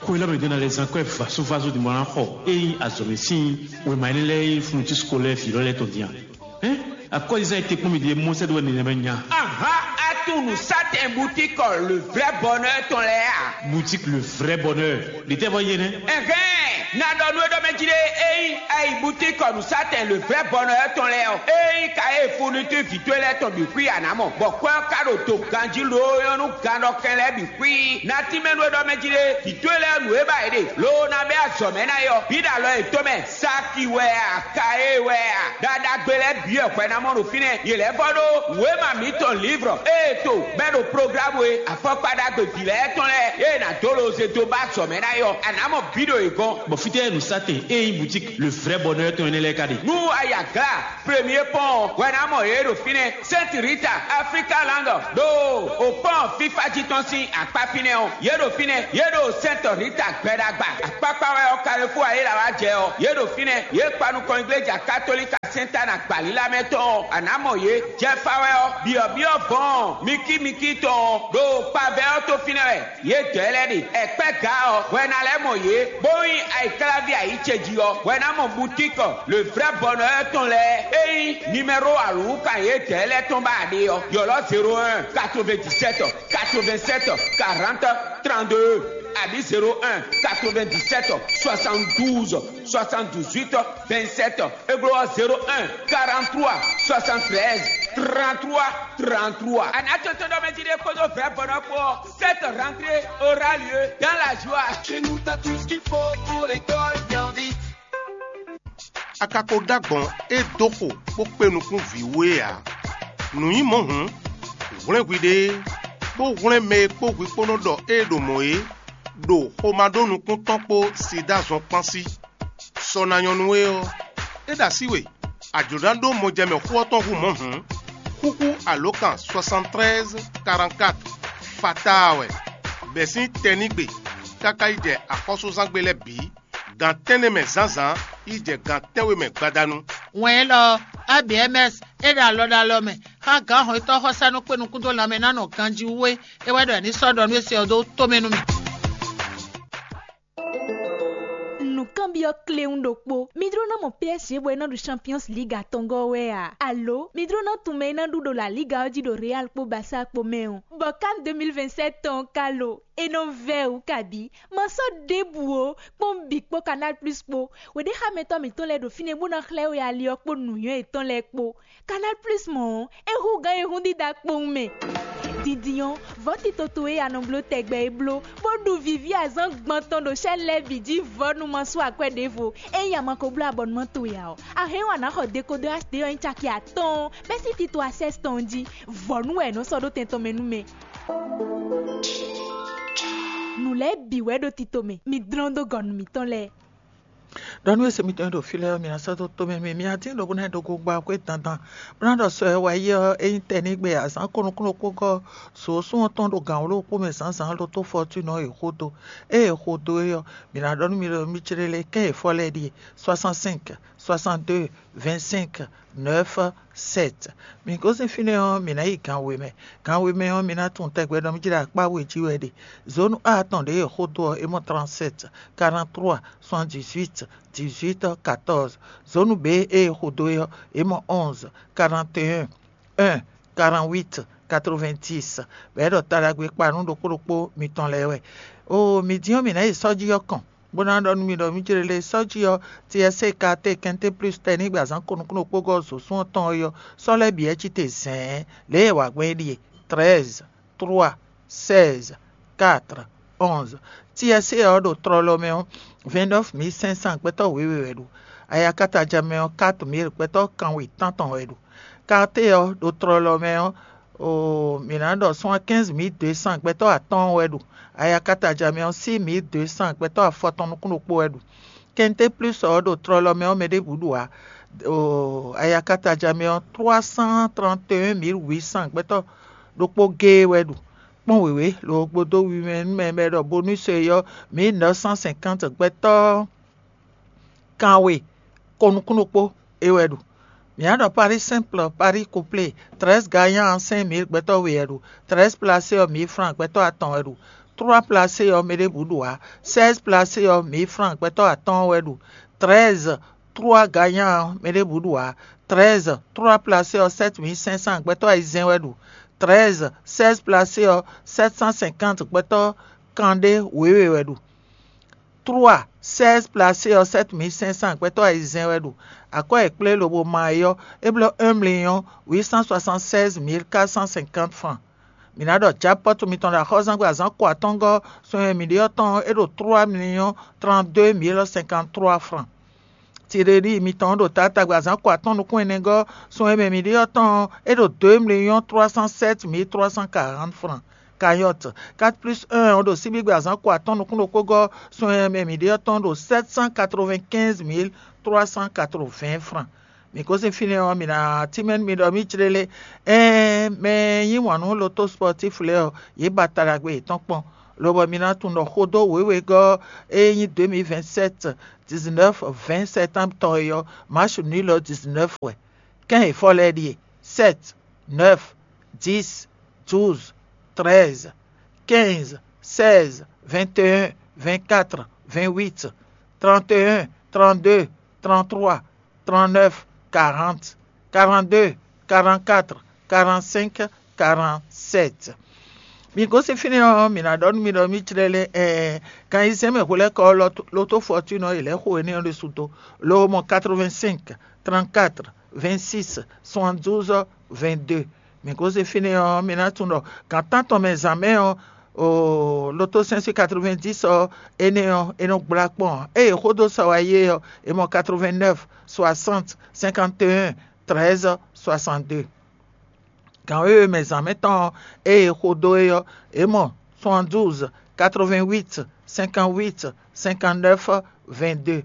Xwe lɔ mɛ ɖo na lɛ zan kɔ́ ɛ vasovaso din bɔ ná xɔ ényí azɔ̌mɛ sín wěma énɛ́ lɛ́ɛ e nyí fourniture scolaire vǐ lɔ lɛ́ɛ tɔn din a? Hɛn, akɔ́zizan e te kpɔ́n mì ɖe mɔ sɛ́ dó wɛ nɛnɛmɛ nya. Aha, atún nǔsátɛn boutique le vrai bonheur tɔn lɛ́ɛ a? Boutique le vrai bonheur. Ɖětɛ́ vɔ yé nɛ́? Ɛhɛn, na ɖɔ nú é ɖɔ mɛ jí ɖé, ényí ayi boutique nǔsátɛn le vrai bonheur tɔn lɛ́ɛ ɔ́, ényí ka e fourniture vǐ towe lɛ́ɛ tɔn bǐ xwí a nǎ mɔ, bɔ kwɛ́ ɔ́ ka ɖo do ganjí loo nyɔ́ nú gannɔkɛn lɛ́ɛ bǐ xwí. Na tínmɛ nú é ɖɔ mɛ jí ɖé, vǐ towe lɛ́ɛ nǔ e ba yě ɖe, loo ná bɛ́ azɔ̌ mɛ ná é ɔ́, bǐ ɖo alɔ yětɔn mɛ. Saki wɛ a, ka e wɛ a, ɖaɖagbe lɛ́ɛ Lɛ́ɛ bǐ wɛ hwɛ ná mɔ ɖo fínɛ́; yě lɛ́ vɔ ɖó wěma mǐtɔn lǐvrɔ ée to bɛ́ ɖo programu e afɔkpa ɖagbe vǐ lɛ́ɛ tɔn lɛ́ɛ ée nǎ dó loze dó ba azɔ̌ mɛ ná é ɔ́, a nǎ mɔ bǐ ɖo yě gɔ́n. Bɔ fítɛ́ nǔsatɛn e nyí boutique le vrai bonheur tɔn énɛ́ lɛ́ɛ ka ɖe? Nú a yi aglá Premier Pɔ́n ɔ́, hwɛ ná mɔ yě ɖo fínɛ́. Sainte Rita, Africa Land, ɖo o pɔ́n fífá jí tɔn sín akpá fínɛ́ ɔ́, yě ɖo fínɛ́. Yě ɖo Sainte Rita gbɛɖagba. Akpákpá wɛ ɔ́, Carrefour ayéla wá jɛ ɔ́, yě ɖo fínɛ́. Yě kpa nukɔn igleja katolika Sɛntana gbalílá mɛ tɔn ɔ́, a nǎ mɔ yě. Jɛfa wɛ ɔ́, byɔ̌byɔ́ vɔ̌ɔn mikímikí tɔn ɔ́, ɖo kpavɛ ɔ́ tó fínɛ́ wɛ. Yě dɔ̌ lɛ́ɛ ɖe. Ɛkpɛ́ ga ɔ́, hwɛ ná lɛ́ mɔ yě, bó nyí ayǐkláví ayǐ ce jí ɔ́, hwɛ ná mɔ butíkɔ le vrɛ́ bɔnɔ ɔ́ tɔn lɛ́ɛ. Ényí nimɛ́ro alǔwúkan yě dɔ̌ lɛ́ɛ tɔn ba a ɖe ɔ́, ylɔ́ zéro un, quatre-vingt-dix-sept, quatre-vingt-sept, quarante, trente-deux, abǐ zéro un, quatre-vingt-dix-sept, soixante-douze, soixante-dix-huit, vingt-sept. É glɔ́ ɔ́, zéro un, quarante-trois, soixante-treize, trente-trois, trente-trois. A nǎ tɔ́n tɔ́n ɖɔ mɛ jí ɖé kpódó vɛ̌ bɔnɔ kpó ɔ́, cette rentrée aura lieu dans la joie. Chez nous, t'as tout ce qu'il faut pour l'école bien vite. A ka ko ɖó agbɔ̌n e dó xo bó kpé nukún vǐ wú é ǎ. Nǔ nyí mɔ̌ hǔn, hwlɛ́n hwiɖée, bó hwlɛ́n mɛ e kpó hwi kpó nɔ ɖɔ ée ɖo mɔ̌ é, ɖo xomado nukún tɔn kpó sida zɔn kpán sí. Sɔ ná nyɔ́ nú we ɔ́, é ɖo así we. A jlǒ ná ɖó mɔjɛmɛ xó ɔ́ tɔn hú mɔ̌ hǔn, xúxú alǒkan soixante-treize quarante-quatre fataa wɛ, bɛ̌ sín tɛnígbe káká yi jɛ axɔ́súzángbe lɛ́ɛ bǐ, gan tɛ́nnɛ mɛ zǎnzǎn yi jɛ gan tɛ́nwe mɛ gbadanu. Wɛn élɔ́ ɔ́, A B M S é ɖo alɔ ɖo alɔ mɛ xá gǎn hɔnnyitɔ́ xɔsánú kpé nukún dó lanmɛ ná nɔ ganjí wú é, é wɛ ɖɔ è ní sɔ́ ɖɔ nú é se ɔ́ dó tomɛ nú mì. Nǔkanbyɔ́ kléwún ɖokpó. Mi jló ná mɔ P S G bɔ é ná ɖu Champions League atɔngɔ́ ɔ́ wɛ a? Alo mi jló ná tunwun mɛ e ná ɖu ɖo La Liga ɔ́ jí ɖo Real kpó Barça kpó mɛ ɔ́? Bɔ CAN deux mille vingt-sept tɔn ɔ́ ka lo? É nɔ vɛ́ wǔ kabí? Ma sɔ́ ɖěbǔ ó, kpɔ́n bǐ kpó Canal Plus kpó. Wěɖéxámɛtɔ́ mǐtɔn lɛ́ɛ ɖo fínɛ́ bó ná xlɛ́ we ali ɔ́ kpó nǔnywɛ́ yětɔn lɛ́ɛ kpó. Canal Plus mɔ̌ ɔ́, é hú gǎn e hún dídá kpowun mɛ. Dindin ɔ́, vɔ̌ tito towe e a nɔ bló tɛgbɛ é bló, bó ɖu vǐví azǎn gban tɔn ɖo chaîne lɛ́ɛ bǐ jí vɔ̌ nú ma sú akwɛ́ ɖěvo. Ényí a ma ko bló abɔnumán towe ǎ ɔ́, a hɛn wú a nǎ xɔ dekodɔ H D ɔ́ nyí caki atɔ́ɔ́n bɛ́ sín tito Access tɔn jí. Vɔ̌ nú wɛ è nɔ sɔ́ ɖó tɛn tɔn mɛ nú mɛ. Nǔ lɛ́ɛ bǐ wɛ ɖo tito mɛ, mi dlɔ́n dó gɔ̌ nú mǐtɔn lɛ́ɛ. Ɖɔ nú e se mitɔn e ɖo fí lɛ́ɛ ɔ́, mi ná sɔ́ dó tomɛ mì, mi ná dín ɖo bó ná yi ɖo gogba xwé dandan, bó ná ɖɔ sɔ e wá yi ɔ́, é nyí tɛnígbe azǎn kɔnukúnukpó gɔ́ zǒsún ɔ́ tɔn ɖo gǎn wló kpó mɛ zǎnzǎn ɖo tó fɔtúnɔ e xo dó. Ée è xo dó é ɔ́, mǐ ná ɖɔ nú mi ɖɔ mi clé lɛ́ɛ kɛ́n e fɔ́ lɛ́ɛ ɖíe: soixante-cinq, soixante-deux, vingt-cinq, neuf, sept. Mǐ gosín fínɛ́ ɔ́, mǐ ná yi gan we mɛ. Gan we mɛ ɔ́, mi ná tunwun tɛgbɛ ɖɔ mí jlá akpá we jí wɛ ɖe. Zǒnu A tɔn ɖě e xó dó ɔ́, é mɔ trente-sept, quarante-trois, soixante-dix-huit, dix-huit, quatorze. Zǒnu B e xó dó é ɔ́, é mɔ onze, quarante et un, un, quarante-huit, quatre-vingt-dix. Bɔ é ɖɔ taɖagbe kpa nú ɖokpó ɖokpó mitɔn lɛ́ɛ wɛ. Oo, mi din ɔ́, mǐ ná yi sɔ́ jí ɔ́ kɔn, bó ná ɖɔ nú mi ɖɔ mǐ jlé lé sɔ́ jí ɔ́, T S C K T Quinté Plus tɛnígbe azǎn kɔnukúnukpó gɔ́ zǒsún ɔ́ tɔn é ɔ́, sɔ́ lɛ́ɛ bǐ wɛ cí te zɛ̌ɛn. Lě e è wa gbɔn é ɖíe: treize, trois, seize, quatre, onze. T S C ɔ́ ɖo tlɔlɔ mɛ ɔ́, vingt-neuf mille cinq cents gbɛtɔ́ wěwe wɛ ɖu. Ayakataja mɛ ɔ́, quatre mille gbɛtɔ́ kanwe tántɔn wɛ ɖu. Quarté ɔ́ ɖo tlɔlɔ mɛ ɔ́, oo, mǐ ná ɖɔ soixante-quinze mille deux cents gbɛtɔ́ atɔ́ɔ́n wɛ ɖu. Ayakataja mɛ ɔ́, six mille deux cents gbɛtɔ́ afɔtɔn nukún ɖokpó wɛ ɖu. Quinté Plus ɔ́ ɖo tlɔlɔ mɛ ɔ́, mɛ ɖěbǔ ɖu ǎ. Oo, ayakataja mɛ ɔ́, trois cent trente et un mille huit cents gbɛtɔ́ ɖokpó géé wɛ ɖu. Kpɔ́n wěwé, lo gbodó wi mɛ nú mɛ bɔ è ɖɔ bonus e ɔ́, mille neuf cent cinquante gbɛtɔ́ kanwe kɔnukúnukpó é wɛ ɖu. Mǐ ná ɖɔ Paris simple, Paris couplé, treize gagnant cinq mille gbɛtɔ́ we wɛ ɖu. Treize placé ɔ́, mille francs gbɛtɔ́ atɔn wɛ ɖu. Trois placé ɔ́, mɛ ɖěbǔ ɖu ǎ. Seize placé ɔ́, mille francs gbɛtɔ́ atɔ́ɔ́n wɛ ɖu. Treize, trois gagnant ɔ́, mɛ ɖěbǔ ɖu ǎ. Treize, trois placé ɔ́, sept mille cinq cents gbɛtɔ́ ayizɛ́n wɛ ɖu. Treize, seize placé ɔ́, sept cent cinquante gbɛtɔ́ kanɖé wěwe wɛ ɖu. Trois, seize placé ɔ́, sept mille cinq cents gbɛtɔ́ ayizɛ́n wɛ ɖu. Akwɛ́ e kplé lobo ma é ɔ́, é bló un million huit cent soixante-seize mille quatre cent cinquante francs. Mǐ ná ɖɔ jackpot mitɔn ɖo axɔ́súzángbe azǎn ko atɔ́ngɔ́ sɔn e mǐ ɖe ɔ́ tɔn ɔ́, é ɖo trois millions trente-deux mille cinquante-trois francs. Tireli mitɔn ɖo taatagbe azǎn ko atɔ́ɔ́n nukún ɛnɛgɔ́ sun e mɛ mǐ ɖe ɔ́ tɔn ɔ́, é ɖo deux millions trois cent sept mille trois cent quarante francs. Cagnotte quatre plus un ɔ́ ɖo síbígbe azǎn ko atɔ́ɔ́n nukún ɖokpó gɔ́ sun e mɛ mǐ ɖe ɔ́ tɔn ɖo sept cent quatre-vingt-quinze mille trois cent quatre-vingts francs. Mǐ gosín fínɛ́ ɔ́, mǐ ná tínmɛ nú mi ɖɔ mǐ jlé lé. Ɛɛn, mɛ e yí wǎn nú loto spɔtífu lɛ́ɛ ɔ́, yě ba ta ɖagbe yětɔn kpɔ́n, lobɔ mi ná tunwun ɖɔ xó dó wěwegɔ́ e nyí deux mille vingt-sept dix-neuf vingt septembre tɔn é ɔ́, match nul ɔ́ dix-neuf wɛ. Kɛ́n e fɔ lɛ́ɛ ɖíe: sept, neuf, dix, douze, treize, quinze, seize, vingt et un, vingt-quatre, vingt-huit, trente et un, trente-deux, trente-trois, trente-neuf, quarante, quarante-deux, quarante-quatre, quarante-cinq, quarante-sept. Mi gosín fínɛ́ ɔ́, mǐ ná ɖɔ nú mi ɖɔ mǐ jlɛ́ lɛ́ ɛɛ kan ayizɛ́n mɛ hwelɛ́kɔ ɔ́, loto fɔtúnɔ e lɛ̌ xo énɛ́ ɔ́ ɖésú dó, lo mɔ quatre-vingt-cinq, trente-quatre, vingt-six, soixante-douze, vingt-deux. Mǐ gosín fínɛ́ ɔ́, mi ná tunwun ɖɔ gǎn tántɔn mɛ zǎn mɛ ɔ́, oo loto cinq cent quatre-vingt-dix ɔ́, énɛ́ ɔ́, é nɔ gblá kpɔ́n ǎ. Ée è xó dó sɔ wá yé ɔ́, è mɔ quatre-vingt-neuf, soixante, cinquante et un, treize, soixante-deux. Gǎn wěwe mɛ zǎn mɛ tɔn ɔ́, ée è xo dó é ɔ́, è mɔ soixante-douze, quatre-vingt-huit, cinquante-huit, cinquante-neuf, vingt-deux.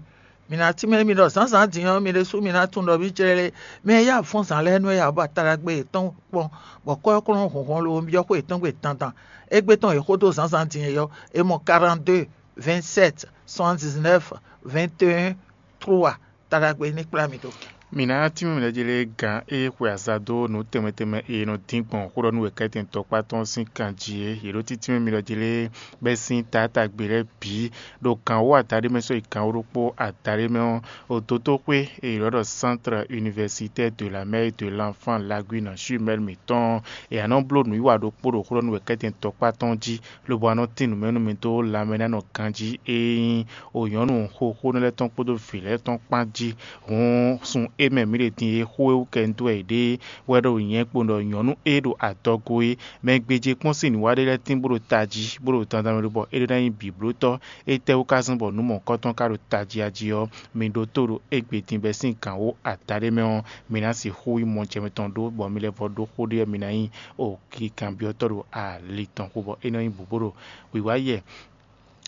Mi ná tínmɛ mi ɖɔ zǎnzǎn din ɔ́, mi ɖésú mi ná tunwun ɖɔ mǐ jlɛ́ lé. Mɛ e yá avɔ́nzǎn lɛ́ɛ nú é ǎ, bɔ atalagbe yětɔn kpɔ́n, bɔ kɔ́yɔ́kúnɔ hɔnhɔn lo byɔ́ xwé yětɔn gbe dandan. Égbé tɔn è xó dó zǎnzǎn din é ɔ́, è mɔ quarante-deux, vingt-sept, soixante-dix-neuf, vingt et un, trois. Taɖagbe ní kplá mi dó. Mǐ ná tínmɛ mǐɖɔjílé gǎn e xwe aza dó nǔ tɛnmɛ tɛnmɛ e nɔ dín gbɔn xó ɖɔ nú wěkɛ́tɛn tɔkpá tɔn sín kan jí é. Yě ɖó títínmɛ mǐɖɔjílé bɛ́ sín taátagbe lɛ́ɛ bǐ ɖo gǎn wú adaɖé mɛ sɔ́ yi gǎn wú ɖokpó adaɖé mɛ ɔ́, ɖo dótóxwé e è ylɔ́ ɖɔ Centre Universitaire de la Mère et de l'Enfant Lagune Jumelle mǐtɔn ɔ́, è nǎ nɔ bló nǔwiwa ɖokpó ɖo xó ɖɔ nú wěkɛ́tɛn tɔkpá tɔn jí, lobo wá nɔ tín nǔ mɛ nú mi dó lanmɛ ná nɔ ganjí e nyí o nyɔ̌nu xoxónɔ lɛ́ɛ tɔn kpódó vǐ lɛ́ɛ tɔn kpán jí. Hǔn sun e mɛ mǐ ɖe din e xó e wú kɛ un dó wɛ yě ɖe wɛ ɖo nyɛ kpo ɖɔ nyɔ̌nu e ɖo adɔgo é, mɛ gbéjé kpɔ́n sín nǔwa ɖé lɛ́ɛ tín bó ɖo tají, bó ɖo dandan mɛ bɔ é ɖó ná nyí bǐblótɔ́. Étɛ́wú ka zɔ́n bɔ nǔ mɔ̌kɔtɔn ka ɖo tají a jí ɔ́, mi ɖótó ɖo égbé din bɛ́ sín gǎn wú adaɖé mɛ ɔ́, mi ná sixú yí mɔ jɛ mitɔn ɖó, bɔ mi lɛ́ vɔ ɖó xó ɖé ɔ́, mi ná nyí o kikanbyɔ́tɔ́ ɖo ali tɔn xo, bɔ é nɔ nyí bǔbó ɖo wǐwá yɛ.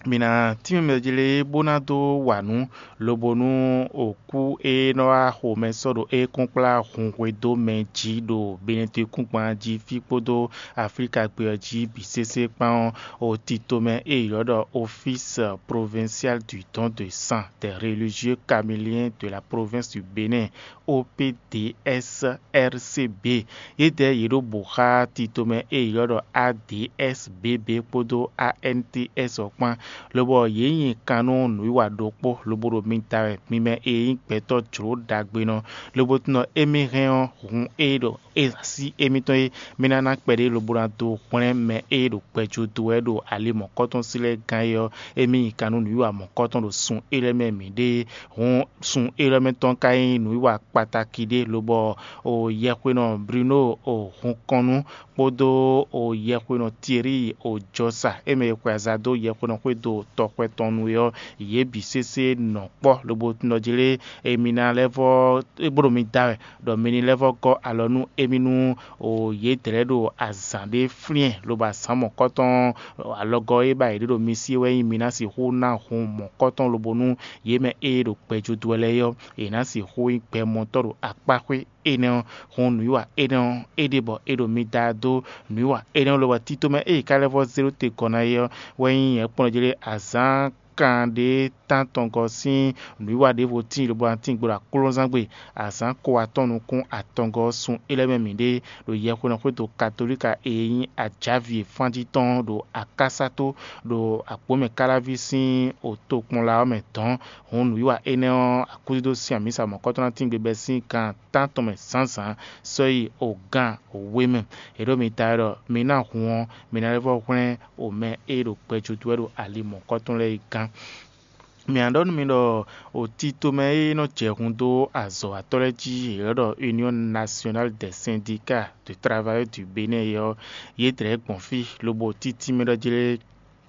Mi ná tínmɛ mɛ jlé bó ná dó wa nǔ, lobo nú òkú e nɔ wá xomɛ sɔ́ ɖo é kɔn kplá hun hwedó mɛ jí ɖo Benɛdekúngban jí fí kpódó Aflíka gbé ɔ́ jí bǐ sésé kpán ɔ́, o tito mɛ e ylɔ́ ɖɔ Office Provincial du Don de Sang des Religieux Caméliens de la Province du Bénin, O P D S R C B. Yědɛɛ yě ɖo bǒ xá titomɛ e è ylɔ́ ɖɔ A D S B B kpódó A N T S ɔ́ kpán, lobɔ yě nyi kan nú nǔwiwa ɖokpó, lobo ɖo mi da wɛ, mi mɛ e nyí gbɛtɔ́ jlǒ ɖagbenɔ, lobo tunɔ émí hɛn ɔ́, hun e ɖo e así émítɔn e mí ná ná kpɛɖé lobo ná dó hwlɛ́n mɛ e ɖo gbɛjó dó wɛ ɖo ali mɔ̌kɔtɔn sí lɛ́ɛ gán é ɔ́, émí nyi kan nú nǔwiwa mɔ̌kɔtɔn ɖo sun élɔ́ mɛ mǐ ɖe. Hǔn sun élɔ́ mɛ tɔn ka nyí nǔwiwa kpatáki ɖé, lobɔ o yɛhwenɔ Bruno o hunkɔnnú kpódó o yɛhwenɔ Thierry o jɔsa e mɛ è xwe aza dó yɛhwenɔ xwé do tɔxwɛ tɔn nu é ɔ́, yě bǐ sésé nɔ kpɔ́, lobo tunɔ jí lé emi ná lɛ́ vɔ é bó ɖo mi da wɛ, ɖɔ mi ní lɛ́ vɔ gɔ́ alɔ nú émí nú o yě dlɛ̌ ɖo azǎn ɖé flyɛ́n, lobo azǎn mɔ̌kɔtɔn alɔgɔ́ e ba yě ɖe ɖo mi sí é wɛ nyí mi ná sixú ná hun mɔ̌kɔtɔn lobo nú yě mɛ e ɖo gbɛjodó wɛ lɛ́ɛ é ɔ́, è nǎ sixú nyí gbɛmɔtɔ́ ɖo akpáxwé énɛ́ ɔ́, hun nǔwiwa énɛ́ ɔ́, é ɖe bɔ è ɖo mi da dó nǔwiwa énɛ́ ɔ́ lobɔ tito mɛ e è ka lɛ́ vɔ zé ɖó te gɔ́ ná é ɔ́ wɛ nyí nyɛ̌kplɔ́njlé azǎn kan ɖé tántɔngɔ́ sín nǔwiwa ɖěvo tíin lobo ná tíin gbe ɖo aklúnɔzángbe azǎn ko atɔn nukún atɔngɔ́ ɔ́ sun é lɛ́ɛ mɛ mǐ ɖe ɖo yɛhwenɔ xwédo katolíka e nyí ajǎvi e fán jí tɔn ɖo akásáto ɖo agbǒmɛ káláví sín otokpɔnla ɔ́ mɛ dɔ̌n. Hǔn nǔwiwa énɛ́ ɔ́, akúdídó sín amǐsa mɔ̌kɔtɔn ná tín gbe bɛ́ sín gan tántɔn mɛ zǎnzǎn sɔ́ yi ogán wé mɛ. È ɖo mi ta wɛ ɖɔ mi ná hun ɔ́, mi ná lɛ́ vɔ hwlɛ́n omɛ e ɖo gbɛjodó wɛ ɖo ali mɔ̌kɔtɔn lɛ́ɛ é gán. Mǐ ná ɖɔ nú mi ɖɔ o tito mɛ e nɔ jɛ hun dó azɔ̌watɔ́ lɛ́ɛ jí, è ylɔ́ ɖɔ Union Nationale des Syndicats de Travailleurs du Bénin é ɔ́, yě dlɛ̌ gbɔn fí, lobo títí mɛ ɖɔ jlé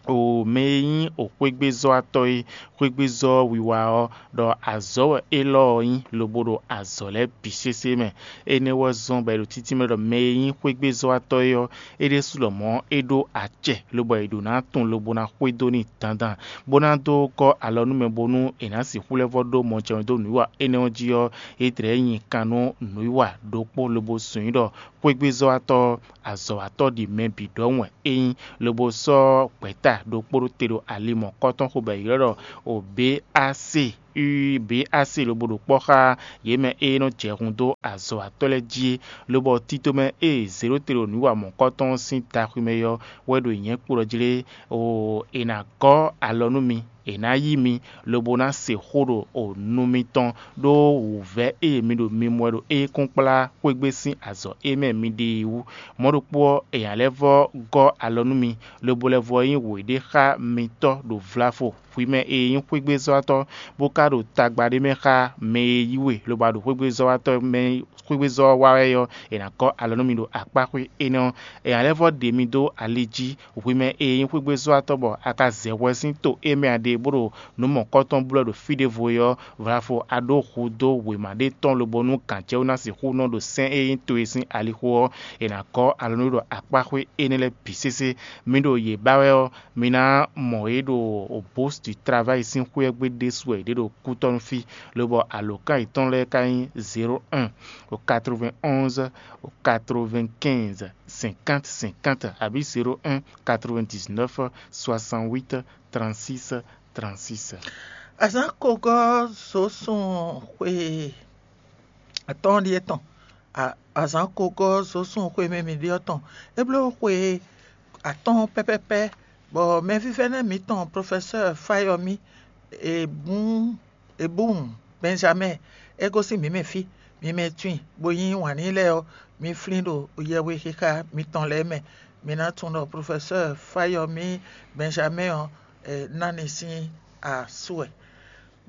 O mɛ e nyí o xwégbézɔ́watɔ́ é, xwégbézɔ́ wiwa ɔ́, ɖɔ azɔ̌ wɛ élɔ́ ɔ́ nyí lobo ɖo azɔ̌ lɛ́ɛ bǐ sésé mɛ. Énɛ́ wɛ zɔ́n bɔ è ɖo títí mɛ ɖɔ mɛ e nyí xwégbézɔ́watɔ́ é ɔ́, é ɖésú lɔmɔ̌ é ɖó acɛ, lobɔ è ɖǒ ná tunwun lobo ná xwedó n'i dandan, bó ná dó gɔ́ alɔ nú mɛ bónú è nǎ sixú lɛ́ vɔ́ ɖó mɔjɛmɛ dó nǔwiwa énɛ́ ɔ́ jí ɔ́, é tlɛ nyi kan nú nǔwiwa ɖokpó lobo sun nyí ɖɔ xwégbézɔ́watɔ́ ɔ́, azɔ̌watɔ́ ɖi mɛ bǐ ɖɔhun wɛ é nyí, lobo sɔ́ gbɛ̌ta ɖokpó ɖó te ɖo ali mɔ̌kɔ́tɔn xo bɔ è ylɔ́ ɖɔ o B A C. Ui B A C lobo ɖo kpɔ́ xá yě mɛ e nɔ jɛ hun dó azɔ̌watɔ́ lɛ́ɛ jí é, lobɔ tito mɛ e zě ɖó te ɖo nǔ wa mɔ̌kɔ́tɔn sín daxwi mɛ é ɔ́ wɛ ɖo nyɛ̌ kpo ɖɔ jlé, o è nǎ gɔ́ alɔ nú mi, è nǎ yí mi, lobo ná se xó ɖo o nu mitɔn, ɖó wǔvɛ́ e mi ɖo mi mɔ wɛ ɖo éyɛ́kúnkplá xwégbé sín azɔ̌ e mɛ mi ɖe é wú. Mɔ̌ ɖokpó ɔ́, è nǎ lɛ́ vɔ́ gɔ́ alɔ nú mi, lobo lɛ́ vɔ́ nyí wěɖé xá mitɔ́ ɖo vlafo hwi mɛ e nyí xwégbézɔ́watɔ́, bó ka ɖo tagba ɖé mɛ xá mɛ e yí we, lobo a ɖo xwégbézɔ́watɔ́ mɛ xwégbézɔ́ ɔ́ wa wɛ ɔ́, è nǎ gɔ́ alɔ nú mi ɖo akpá xwé énɛ́ ɔ́. È nǎ lɛ́ vɔ́ ɖe mi dó ali jí, hwi mɛ e nyí xwégbézɔ́watɔ́ bɔ a ka zɛ hwɛ sín to e mɛ a ɖe bó ɖo nǔ mɔ̌kɔtɔn blɔ́ ɖo fí ɖěvo é ɔ́, vlafo a ɖó hu dó wěma ɖé tɔn lobo nú gǎn cɛ́ wú ná sixú nɔ ɖo sɛ́n e nyí towe sín alixo ɔ́, è nǎ gɔ́ alɔ nú ɖo akpá xwé énɛ́ lɛ́ɛ bǐ sésé. Mi ɖo yě ba wɛ ɔ́, mi ná mɔ yě ɖo Bourse du Travail sín xwé ɔ́ gbe ɖésú wɛ yě ɖe ɖo kútɔ́nú fí, lobɔ alǒkan yětɔn lɛ́ɛ ka nyí zéro un, quatre-vingt-onze, quatre-vingt-quinze, cinquante cinquante, abǐ zéro un, quatre-vingt-dix-neuf, soixante-huit, trente-six, trente-six. Azǎn kogɔ́ zǒsun xwe atɔ́ɔ́n ɖíe tɔn. A- Azǎn kogɔ́ zǒsun xwe mɛ mǐ ɖe ɔ́ tɔn. É bló xwe atɔ́ɔ́n pɛ́pɛ́pɛ́, bɔ mɛvívɛ́nɛ́ mǐtɔn Profɛsɛ́ɛ Fáyɔmí Ebún Ebún Bɛnjamɛ́ɛ é gosín mǐ mɛ fí. Mi mɛ tunwun bó nyí wǎn n'i lɛ́ɛ ɔ́, mi flín ɖo yɛhwexixa mitɔn lɛ́ɛ mɛ. Mi ná tunwun ɖɔ Profɛsɛ́ɛ Fáyɔmí Bɛnjamɛ́ɛ ɔ́, ná ni sín asú wɛ.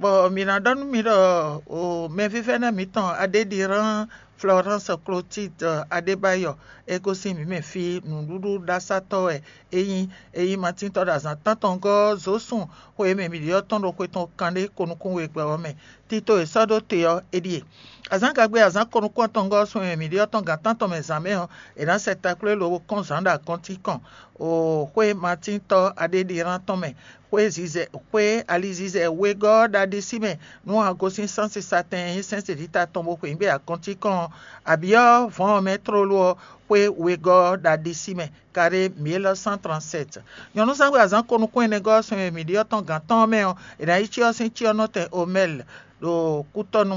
Bɔ mǐ ná ɖɔ nú mi ɖɔ o mɛvívɛ́nɛ́ mǐtɔn Adéɖirán Florence Clotilde Adébáyɔ é gosín mǐ mɛ fí. Nǔɖuɖu ɖasátɔ́ wɛ é nyí. É nyí matíntɔ́ ɖo azǎn tántɔngɔ́ zǒsun xwe e mɛ mǐ ɖe ɔ́ tɔn ɖo xwe tɔn kanɖé ko nukún we gbɛ ɔ́ mɛ. Tito e sɔ́ ɖó te ɔ́, é ɖíe. Azǎngagbe azǎn ko nukún atɔngɔ́ ɔ́ sun e mǐ ɖe ɔ́ tɔn gǎn tántɔn mɛ zǎn mɛ ɔ́, è nǎ sɛ taklwé lobo kɔn zǎn ɖo agɔntín kɔn o xwé matíntɔ́ Adéɖirán tɔn mɛ. Xwé zizɛ xwé alizizɛ wegɔ́ ɔ́ ɖo aɖisí mɛ nú a gosín sánsisatɛn e nyí sɛ́n sɛ̌dita tɔn bó xweyǐgbe agɔntín kɔn ɔ́, abǐ ɔ́ vɔ̌n ɔ́ mɛ tlóló ɔ́, xwé wegɔ́ ɔ́ ɖo aɖisí mɛ. Carré mille cent trente-sept. Nyɔ̌núzangbe azǎn ko nukún ɛnɛgɔ́ ɔ́ sun e mǐ ɖe ɔ́ tɔn gǎn tɔn ɔ́ mɛ ɔ́, è nǎ yi cyɔ ɔ́ sín cyɔ nɔ tɛn Omɛl ɖo kútɔ́nu.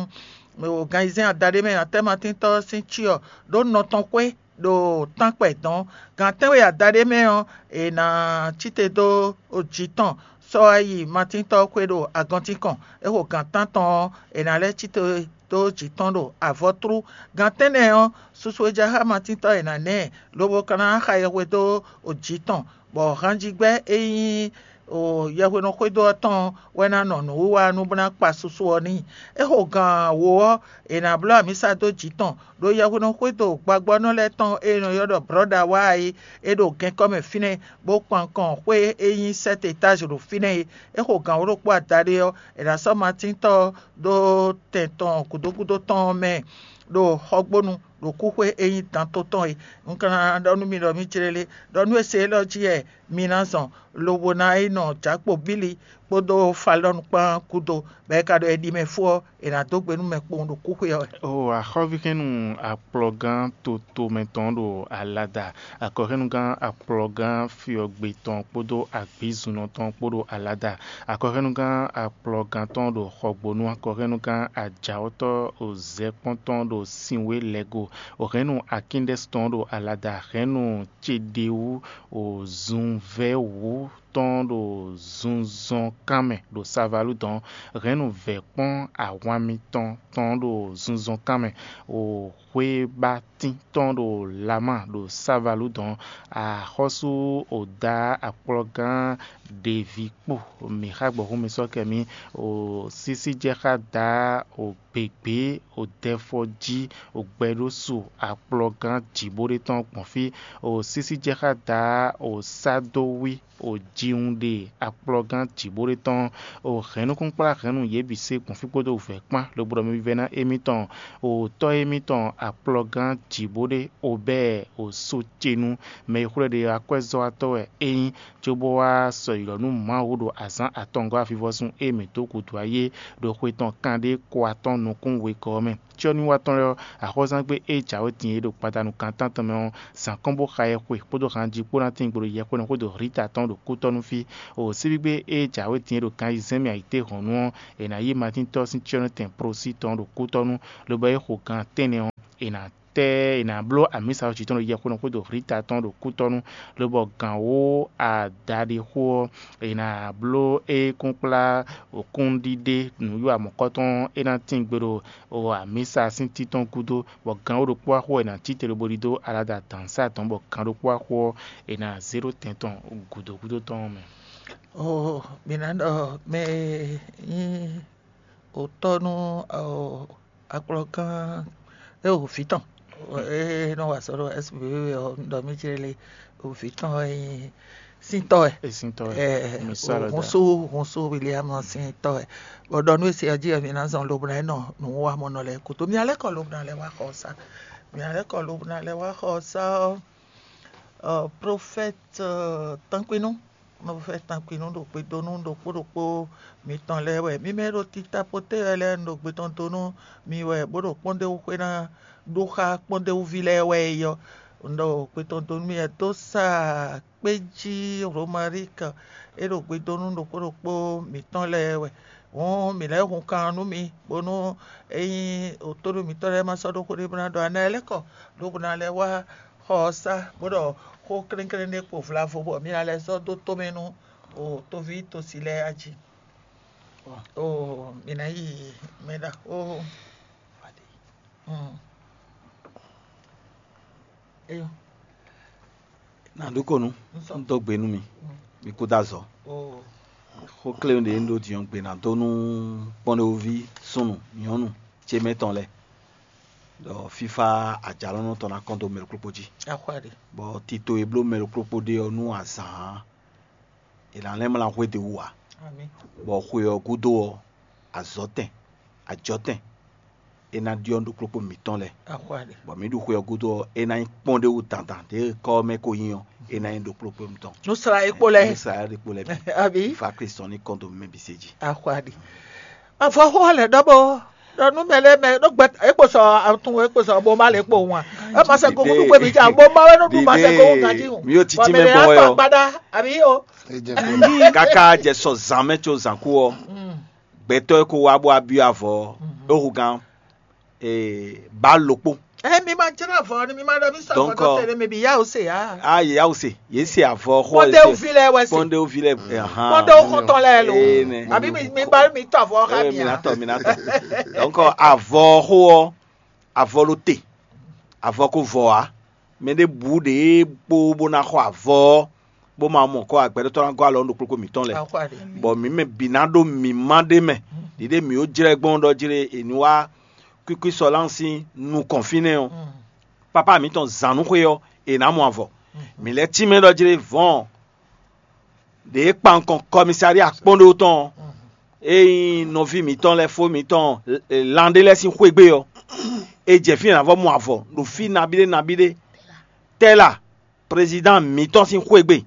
Ganzɛ́n Adalé mɛ è nǎ tɛ́ Matíntɔ́ ɔ́ sín cyɔ ɖó nɔ tɔn xwé ɖo tánkpɛ dɔ̌n. Gan tɛ́nwe adaɖé mɛ ɔ́, è nǎ cí te dó jǐ tɔn sɔ́ wá yi Matíntɔ́ xwé ɖo agɔntín kɔn. É xo gan tántɔn ɔ́, è nǎ lɛ́ cí te dó jǐ tɔn ɖo avɔtlú. Gan tɛ́nnɛ ɔ́, susu e ja xá Matíntɔ́ è nǎ ná ɛ, lobo ka ná xa yɛhwe dó jǐ tɔn, bɔ hanjigbɛ́ e nyí yɛhweɖɔ xwédo ɔ́ tɔn wɛ ná nɔ nǔwiwa nú bó ná kpa susu ɔ́ n'i. É xo gǎn wǒ ɔ́, è nǎ bló amǐsa dó jǐ tɔn, ɖó yɛhweɖɔ xwédo gbagbɔ́nɔ lɛ́ɛ tɔn e è nɔ ylɔ́ ɖɔ Brɔ̌da wá é, é ɖo gɛnkɔ́ mɛ fínɛ́, bó kpan kɔn xwé e nyí sɛ́t etázi ɖo fínɛ́ é. É xo gǎn wǒ ɖokpó adaɖé ɔ́, è nǎ sɔ́ Matíntɔ́ ɔ́ dó tɛn tɔn gǔdo gúdo tɔn ɔ́ mɛ ɖo xɔgbónu ɖo kúxwé e nyí danto tɔn é. Un ka ná ɖɔ nú mi ɖɔ mǐ jlé lé, ɖɔ nú e se élɔ́ jí wɛ mi ná zɔn, lobo ná yi nɔ jǎkpo bíli kpódó falɔ́nu kpán gúdo, bɔ è ka ɖɔ è ɖi mɛ fó ɔ́, è nǎ dó gbe nú mɛ kpowun ɖo kúxwé ɔ́ wɛ. O axɔ́víhɛ́nnu akplɔgán toto mɛ tɔn ɖo alada, akɔhɛ́nnugán akplɔgán fyɔgbe tɔn kpódó agbǐzunɔ tɔn kpó ɖo alada, akɔhɛ́nnugán akplɔgán tɔn ɖo xɔgbónu, akɔhɛ́nnugán ajǎwɔ́tɔ́ ozɛkpɔ́ntɔn ɖo sinwé lɛgo, òhɛ́nnu akíndɛ́s tɔn ɖo alada, hɛ́nnu céɖéwú ozunvɛ́wú tɔn ɖo zunzɔnkan mɛ ɖo savalú dɔn, hɛ́nnu vɛ̌kpɔ́n ahwan mitɔn tɔn ɖo zunzɔnkan mɛ, o xwébatín tɔn ɖo Lama ɖo savalú dɔn, axɔ́sú oda akplɔgán ɖevi kpo mǐ xa gbɔ̌ xú mi sɔ́ kɛ mì, o sísí jɛ xá da o gběgbé, o dɛfɔ jí, o gbɛɖósu akplɔgán jǐbó ɖé tɔn gbɔn fí, o sísí jɛ xá da, o sá dó wí, o jiwun ɖe akplɔgán jǐbó ɖé tɔn, o hɛ̌nnukúnkplá hɛ̌nnu yě bǐ se gbɔn fí kpódó wǔvɛ́ kpán, lobo ɖɔ mɛ vívɛ́ná émítɔn, o tɔ́ émítɔn akplɔgán jǐbó ɖé, o bɛ́ o so ce nú mɛ e xwlɛ́ ɖe akwɛ́zɔ́watɔ́ wɛ é nyí, cóbó wá sɔyǐlɔ nú Mawu ɖo azǎn atɔngɔ́ avivɔsun e mǐ dó gǔdo ayé ɖo xwe tɔn kanɖé ko atɔ́ɔ́n nukún wegɔ́ ɔ́ mɛ. Cyɔ́nywatɔ́ lɛ́ɛ ɔ́, axɔ́zángbé e jǎwe din é ɖo gbadanu gan tántɔn mɛ ɔ́, zǎn kɔn bó xa yɛxwe kpódó hanji kpó ná tín gbe ɖo yɛxwénɔ xwé ɖo Rita tɔn ɖo kútɔ́ nú fí. O síbígbe e jǎwe din é ɖo gan ayizɛ́n mɛ ayǐtéhɔ̌nnu ɔ́, è nǎ yí Matíntɔ́ sín cyɔ́nɔtɛn Prosí tɔn ɖo kútɔ́ nú, lobo é xo gan tɛ́nnɛ ɔ́, è nǎ tɛ́ è nǎ bló amǐsa ɔ́ jǐ tɔn ɖo yɛxwénɔ xwé ɖo Rita tɔn ɖo kútɔ́nú, lobɔ gǎn wó adaɖixó ɔ́, è nǎ bló é kúnkplá kúnɖiɖe nǔwiwa mɔ̌kɔtɔn e ná tín gbe ɖo amǐsa sín títɔn gúdo, bɔ gǎn wó ɖokpó wá xo ɔ́, è nǎ cí te lobo ɖidó alada dǎnsá dɔn, bɔ gǎn ɖokpó wá xo ɔ́, è nǎ zé ɖó tɛn tɔn gǔdo gúdo tɔn ɔ́ mɛ. Oo, mi ná ɖɔ mɛ e nyí otɔ́ nú akplɔ́gán e o vǐ tɔn e nɔ wa azɔ̌ ɖo S B V ɔ́, un ɖɔ mì jlé le, o vǐ tɔn e nyí síntɔ́ wɛ. Esintɔ ɛ, Ɛ, Misala da. Hunsu, hunsu William sín tɔ́ wɛ. Bɔ ɖɔ nú e se ɔ́ jí wɛ mi ná zɔn lobo ná nɔ nǔ wa mɔ nɔ lɛ́ɛ kútó. Mi ná lɛ́ kɔ lobo ná lɛ́ wá xɔ ɔ́ sá. Mi ná lɛ́ kɔ lobo ná lɛ́ wá xɔ ɔ́ sá ɔ́, ɔ, profɛ́t Tankwinú, profɛ́t Tankwinú ɖo gbe dó nú ɖokpó ɖokpó mitɔn lɛ́ɛ wɛ. Mi mɛ e ɖo tita poté wɛ lɛ́ɛ, un ɖo gbe tɔn dó nú mi wɛ, bó ɖo kpɔ́ndéwúxwé ná ɖó xá kpɔ́ndéwúví lɛ́ɛ wɛ é yɔ́. Un ɖo gbe tɔn dó nú mi wɛ dó sa kpé jí Romarik e ɖo gbe dó nú ɖokpó ɖokpó mǐtɔn lɛ́ɛ wɛ. Hǔn mǐ lɛ́ hun kan nú mi, bónú ényí tóɖó mǐtɔn lɛ́ɛ ma sɔ́ ɖó xó ɖé bó ná ɖɔ anɛ lɛ́ kɔ, lobo ná lɛ́ wá xɔ ɔ́ sá, bó ɖɔ xó klénklénɖé kpo vlavo, bɔ mi ná lɛ́ sɔ́ dó tomɛ nú o toví tosi lɛ́ɛ a jí. Oo, mǐ ná yi mɛ ɖaxó. Mm. Eyo. Nǎ ɖu kó nú, un dó gbe nú mi, mi kú dó azɔ̌. Oo. Xó kléwún ɖě un ɖó din ɔ́ gbe ná dó nú kpɔ́nɖéwúví súnnu nyɔ̌nu ce mɛ tɔn lɛ́ɛ, ɖɔ fífá ajǎlɔ́nɔ tɔn ná kɔn dó mɛ ɖokpó jí. Axwá ɖe. Bɔ tito e bló mɛ ɖokpó ɖe ɔ́ nú azǎn ɔ́, è nǎ lɛ́ mlá hwédewú ǎ. Amín. Bɔ xwe ɔ́ gúdo ɔ́, azɔ̌tɛn, ajɔ̌tɛn, é ná ɖyɔ́ nú ɖokplɔ́kpó mǐtɔn lɛ́ɛ. Axwá ɖe. Bɔ mǐ ɖu xwe ɔ́ gúdo ɔ́, é ná nyí kpɔ́ndéwú dandan ɖě kɔ́ ɔ́ mɛ ko nyí ɔ́, é ná nyí ɖokplɔ́kpó mǐtɔn. Nú sla e kpo lɛ́ɛ. Nú sla e kpo lɛ́ɛ bǐ. Abi. Fa Kristu ní kɔn dó mɛ bǐ se jí. Axwá ɖe. Avɔ xó lɛ ɖɔ bɔ ɖɔ nú mɛ lɛ́ɛ mɛ ɖó gbɛ é kpo sɔ atun é kpo sɔ bo ma lɛ kpo wan. É ma sɛ gogo nú gbé mi jà bo ma wɛ nú ɖu ma sɛ gogo ganjí hùn. Mi yóò títí mɛ bɔ wɛ ɔ. Agbada abi o. Kaka jɛ sɔ zǎn mɛ có zǎn kú ɔ, gbɛtɔ́ e ko wá bó wá byɔ́ avɔ ɔ́, é hu gán ba lokpó. Ɛ mi ma jlá avɔ ni mi ma ɖɔ mi sɔ avɔ tó tɛnɛ mi bi yá o se yá. A yě yá o se, yé se avɔ xɔ. Kpɔndéwúvi lɛ wɛ se. Kpɔndéwúvi lɛ ahan. Kpɔndéwú xɔtɔn lɛ lo. Ee nɛ. Àbí mi mi ba mi tɔ avɔ xa mi mi na a. Tɔ mi na tɔ. Donc avɔ xo ɔ, avɔ ló te, avɔ ko vɔ á. Mɛ ɖé bǔ ɖě kpó bó ná xɔ avɔ ɔ́, bó ma mɔ kɔ agbɛɖótɔ́ ná gɔ́ alɔ ɖo kplɔ́kpó mǐtɔn lɛ́ɛ. Bɔ mǐ mɛ bǐ ná ɖó mǐmá ɖé mɛ ɖiɖe mǐ ó jlɛ́ gbɔn ɖɔ jlé è ní wá kwíkwí sɔlán sín nukɔn fínɛ́ ɔ́. Papá mǐtɔn zǎn nú xwé ɔ́, è nǎ mɔ avɔ. Mǐ lɛ́ tínmɛ ɖɔ jlé vɔ̌n ɖě kpan nukɔn kɔmisári akpɔ́nɖó tɔn ɔ́, é nyí nɔví mǐtɔn lɛ́ɛ fó mǐtɔn lan ɖé lɛ́ɛ sín xwé gbe ɔ́, è jɛ fínɛ́ ná vɔ mɔ avɔ ɖo fí nabíɖé nabíɖé. Tɛ́la prezidán mǐtɔn sín xwé gbe,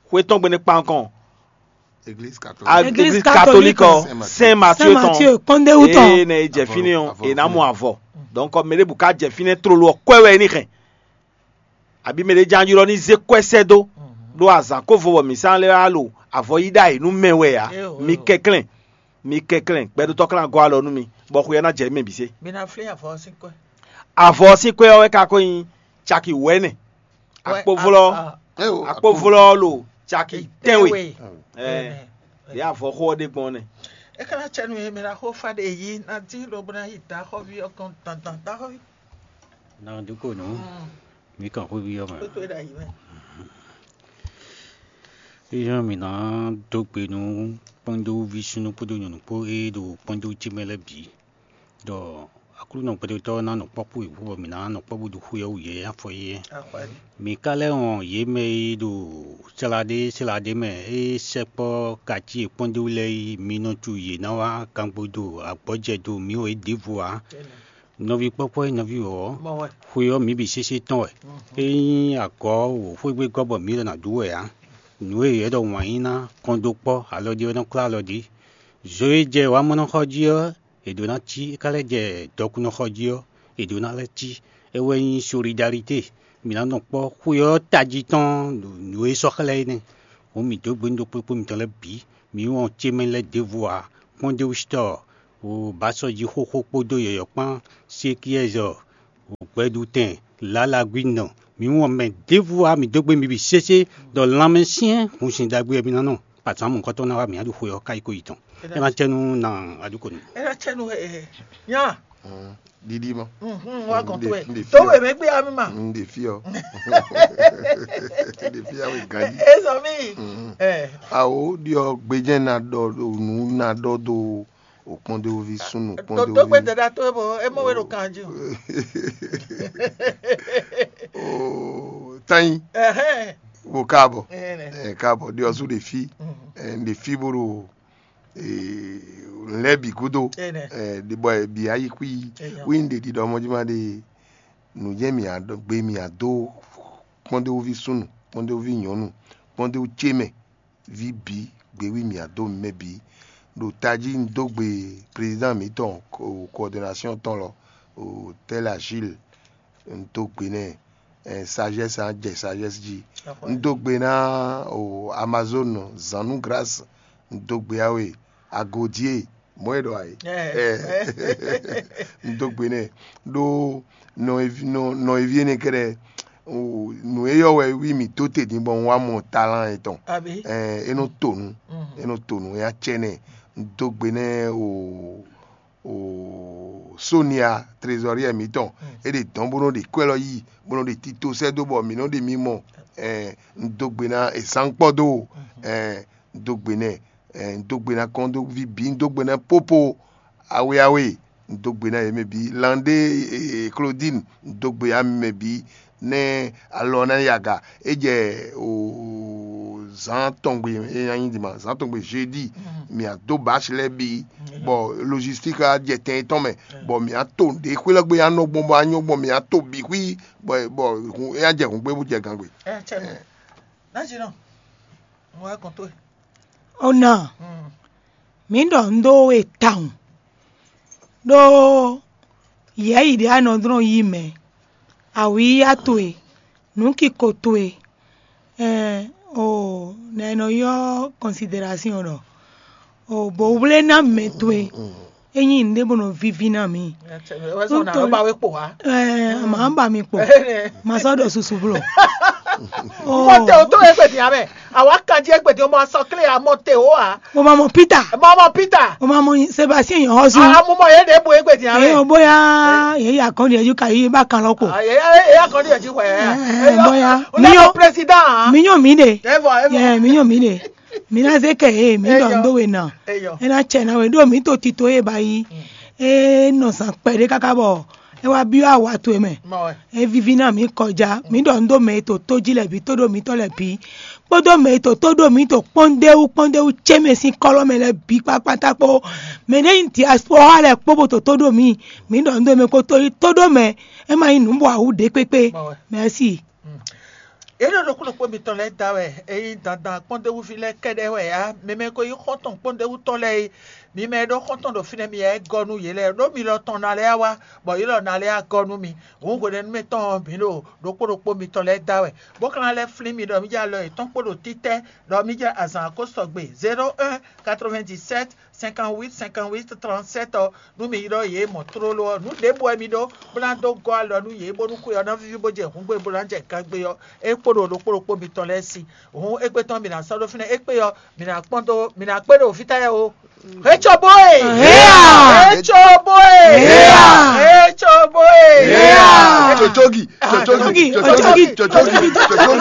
xwé tɔn gbe nɛ́ kpan nukɔn Église catholique. Église catholique ɔ, Saint Mathieu tɔn. Mathieu kpɔndéwu tɔn. Ee nɛ e jɛ fínɛ́ ɔ, è nǎ mɔ avɔ. Donc mɛ ɖěbǔ ká jɛ fínɛ́ tlóló ɔ́, kwɛ wɛ é ní hɛn. Àbí mɛ ɖě ján ylɔ́ ní zé kwɛ́ sɛ́ dó ɖó azǎn kó vo bɔ mǐ sán lɛ́ wá lo avɔ yí ɖ'ayǐ nú mɛ wɛ ǎ. Mi kɛnklɛ́n, mi kɛnklɛ́n, gbɛɖótɔ́ klán gɔ́ alɔ nú mi, bɔ xwe ɔ́ ná jɛ mɛ bǐ sé. Mi ná flín avɔ ɔ́ sín kwɛ́. Avɔ ɔ́ sín kwɛ́ ɔ́ wɛ ka ko nyí caki wɛ̌nɛ. Akpovlɔ, akpovlɔ lo caki tɛnwe. Ɛɛ, yɛ avɔ xo ɔ́ ɖe gbɔn nɛ. E ka ná cɛ nú yě mɛ ná xó fa ɖe yí ná dín lobo ná yi daxɔví ɔ́ gɔ́n dandan daxɔví. Ná dúkò nǔ, mǐ kàn xóví ɔ́ mɛ. Kótó é ɖo ayǐ mɛ. Éyɛ́ mǐ ná dó gbe nú kpɔ́ndéwúví súnnu kpódó nyɔ̌nu kpó e ɖo kpɔ́ndéwú ce mɛ lɛ́ɛ bǐ. Ɖɔ Aklúnɔ gbɛtɔ́ ná nɔ kpɔ́ kpó yě bɔ mǐ ná nɔ kpɔ́ bó ɖo xwé ɔ́ wú yě afɔ yí. Mǐ ka lɛ́ wɔn yě mɛ e ɖo sláɖé sláɖé mɛ e sɛkpɔ́ kací e kpɔ́n ɖé wú lɛ́ɛ yi, mi nɔ cu yě ná wá kangbo ɖo agbɔ́jɛ ɖo mǐ wɔ é ɖěvo ǎ. Nɔví kpɔ́kpɔ́ e nɔví wɔ ɔ́, xwe ɔ́ mǐ bǐ sésé tɔn wɛ. É nyí agɔ̌ wǒ xwé gbe gɔ́ bɔ mǐ ɖɔ nǎ ɖu wɛ ǎ. Nǔ e yě ɖɔ wǎn yí ná kɔn dó kpɔ́ alɔ ɖé ɔ́ nɔ klá alɔ ɖě. Zo e jɛ wǎ mɔ nɔ xɔ jí ɔ́, è ɖǒ ná cí; é ka lɛ́ jɛ dɔkunnɔxɔ jí ɔ́, è ɖǒ ná lɛ́ cí. É wɛ nyí solidalité. Mǐ ná nɔ kpɔ́ xwe ɔ́ tají tɔn ɖo nǔ e sɔ́ xlɛ́ é nɛ́. Hǔn mǐ dó gbe nú ɖokpó ɖokpó mitɔn lɛ́ɛ bǐ. Mǐ wɔn ce mɛ lɛ́ɛ ɖěvo ǎ. Kpɔ́ndéwúsítɔ́, wǒ bǎsɔ́ jí xóxó kpódó yɔ̌yɔ́ kpán, sékíɛ́zɔ, wǒ gbɛɖutɛn, lǎlagbínɔ. Mǐ wɔn mɛ ɖěvo ǎ. Mǐ dó gbe mi bǐ sésé ɖɔ lanmɛsyɛ́n hun sin ɖagbe wɛ mi ná nɔ. Pazǎn mɔ̌hunkɔtɔn ná wá mǐ á ɖo xwe ɔ́ káyí ko yi tɔn. É ná cɛ nú na aɖúkonu. É ná cɛ nú ɛ nya. Ɖiɖi mɔ. Wa gɔn to ɛ. Tó wɛ mɛ gbé ami ma. N ɖe fi ɔ. N ɖe fi awe ganji. Ezɔ mi. Ɛ. Awo ɖiɔ gbejɛ na ɖɔ ɖo nu na ɖɔ do o kpɔndewovi sunu. Tó tó gbé kpɔndewovi. Dada tó ebo emo wɛ ɖo kanji. O tanyi. Ɛhɛn. Wo kaabɔ. Ɛhɛn. Ɛ kaabɔ ɖiɔ su ɖe fi. Ɛ n ɖe fi bo ɖo lɛ́ bǐ gúdo. Ɛ, bɔ è bǐ ayixwí wí un ɖe ɖiɖɔ mɔjúmá ɖe nǔ jɛ́n mǐ gbe mǐ dó kpɔ́ndéwúví súnnu, kpɔ́ndéwúví nyɔ̌nu, kpɔ́ndéwú ce mɛ, ví bǐ, gbewí mǐ dó mɛ bǐ. Ɖo tají un dó gbe président mǐtɔn coordination tɔn lɔ, Tel Achille, un dó gbe nɛ. Sagesse a jɛ sagesse jí. Un dó gbe ná o Amazone, Zanu Grâce, un dó gbe awe Agodie, mɔ̌ e ɖɔ ayé. Un dó gbe nɛ ɖó nɔ evi nɔ nɔ evi énɛ́ kɛ́ɖɛ́, nǔ e yɔ wɛ wí mǐ tó te din bɔ un wá mɔ talán etɔn. É nɔ to nǔ, é nɔ to nǔ, é ná cɛ nɛ. Un dó gbe nɛ o o Sonia trésorier mǐtɔn, é ɖe dɔn bó nɔ ɖe kwɛ́ lɔ yí, bó nɔ ɖe tito sɛ́ dó bɔ mǐ nɔ ɖe mi mɔ. Un dó gbe ná Esankpɔ́ dó, un dó gbe nɛ, un dó gbe ná kɔn dó ví bǐ, un dó gbe ná Popo, awe awe, un dó gbe ná yě mɛ bǐ, Landé, Claudine, un dó gbe ami mɛ bǐ, nɛ́ alɔ ná yi aga. É jɛ o zǎn tɔngbe, é ná nyi dima zǎn tɔngbe jeudi, mǐ á dó bǎsi lɛ́ɛ bǐ, bɔ logistique á jɛ tɛn tɔn mɛ, bɔ mǐ á to ɖě xwé lɛ́ gbe á nɔ gbɔn bɔ á nyɔ́ gbɔn, mǐ á to bǐ xwí, bɔ bɔ é á jɛ hǔn gbé bó jɛ gǎn gbe. Ɛ cɛ nɔ. Ná jí nɔ. Mo wá kɔn tó. Ó nà, mǐ ɖɔ nǔ dó we tawun, ɖó yɛ̌yi ɖé a nɔ dlɔ́n yí mɛ, awǐyá towe, nǔkiko towe, ɛn o nɛ̌ nɔ ylɔ́ considération ɖɔ o bǒwléná mɛ towe, é nyí nǔɖé bó nɔ víví ná mǐ. Wɛsɔn na ba we kpo wa. Ɛɛ, mǎ ba mi kpo. Mǎ sɔ́ ɖɔ susu blɔ. Mɔte o tó egbe dia mɛ. Awa kanji egbe dia mɔ sɔ kle a mɔte o a. Mo ma mɔ Peter. Mɔ mɔ Peter. Mo ma mɔ Sébastien yɔn hɔzu. A mo mɔ ye de bo egbe dia mɛ. Eyo bóyá ye ya kɔn di eju ka yi ba kan lɔ ko. Ye ya kɔn di eju wɛ. Bóyá mi yɔ président. Mi yɔ mi de. Evo evo. Mi yɔ mi de. Mi na ze kɛ he mi dɔ ndo we na. E na cɛ na we ɖo mi to tito ye ba yi. E nɔ zan kpɛɖe kaka bɔ e wá byɔ́ awa towe mɛ. E víví ná mǐ kɔjá, mǐ ɖɔ nǔ ɖo mɛ e to tó jí lɛ́ɛ bǐ, tó ɖo mǐtɔn lɛ́ɛ bǐ, kpódó mɛ e to tó ɖo mǐ to kpɔ́ndéwú kpɔ́ndéwú ce mɛ sín kɔ́lɔ́ mɛ lɛ́ɛ bǐ kpákpátá kpó. Mɛ ɖé nyi diaspora lɛ́ɛ kpó bó to tó ɖo mǐ, mǐ ɖɔ nǔ ɖo mɛ kó tó yi tó ɖo mɛ, é ma nyí nǔ bɔ awǔ ɖě kpékpé. Mɛ̌si. Yě ɖo ɖokpó ɖokpó mitɔn lɛ́ɛ da wɛ, ényí dandan kpɔ́ndéwúví lɛ́ɛ kɛ́ɖɛ́ wɛ ǎ, mi mɛ ko nyí xɔ́ntɔn kpɔ́ndéwútɔn lɛ́ɛ é, mi mɛ e ɖó xɔ́ntɔn ɖo fínɛ́ mi ɛ gɔ́ nú yě lɛ́ɛ, ɖó mi lɔ tɔn ná lɛ́ɛ wá, bɔ yě lɔ ná lɛ́ɛ wá gɔ́ nú mi. Hǔn hwenɛ́nu mǐtɔn ɔ́, mǐ ɖo ɖokpó ɖokpó mitɔn lɛ́ɛ da wɛ, bó ka ná lɛ́ flín mi ɖɔ mí jɛ alɔ yětɔn kpó ɖo títɛ́, ɖɔ mí jɛ azǎn ko sɔgbe. Zéro un, quatre-vingt-dix-sept, cinquante-huit, cinquante-huit, trente-sept ɔ́, nú mi ylɔ́ yě mɔ tlóló ɔ́, nǔ ɖěbǔ wɛ mi ɖó, bó ná dó gɔ́ alɔ nú yě, bónú xwe ɔ́ ná víví bó jɛ hǔngbe bó ná jɛ gangbé ɔ́, é kpó ɖo ɖokpó ɖokpó mitɔn lɛ́ɛ sí. Hǔn égbé tɔn mi ná sɔ́ ɖó fínɛ́, égbé ɔ́, mi ná kpɔ́n dó, mi ná kpé ɖo fítɛ́ o. Etsɔbóe! Héa! Etsɔbóe! Héa! Etsɔbóe! Héa! Tsotsogi, tsotsogi, tsotsogi, tsotsogi,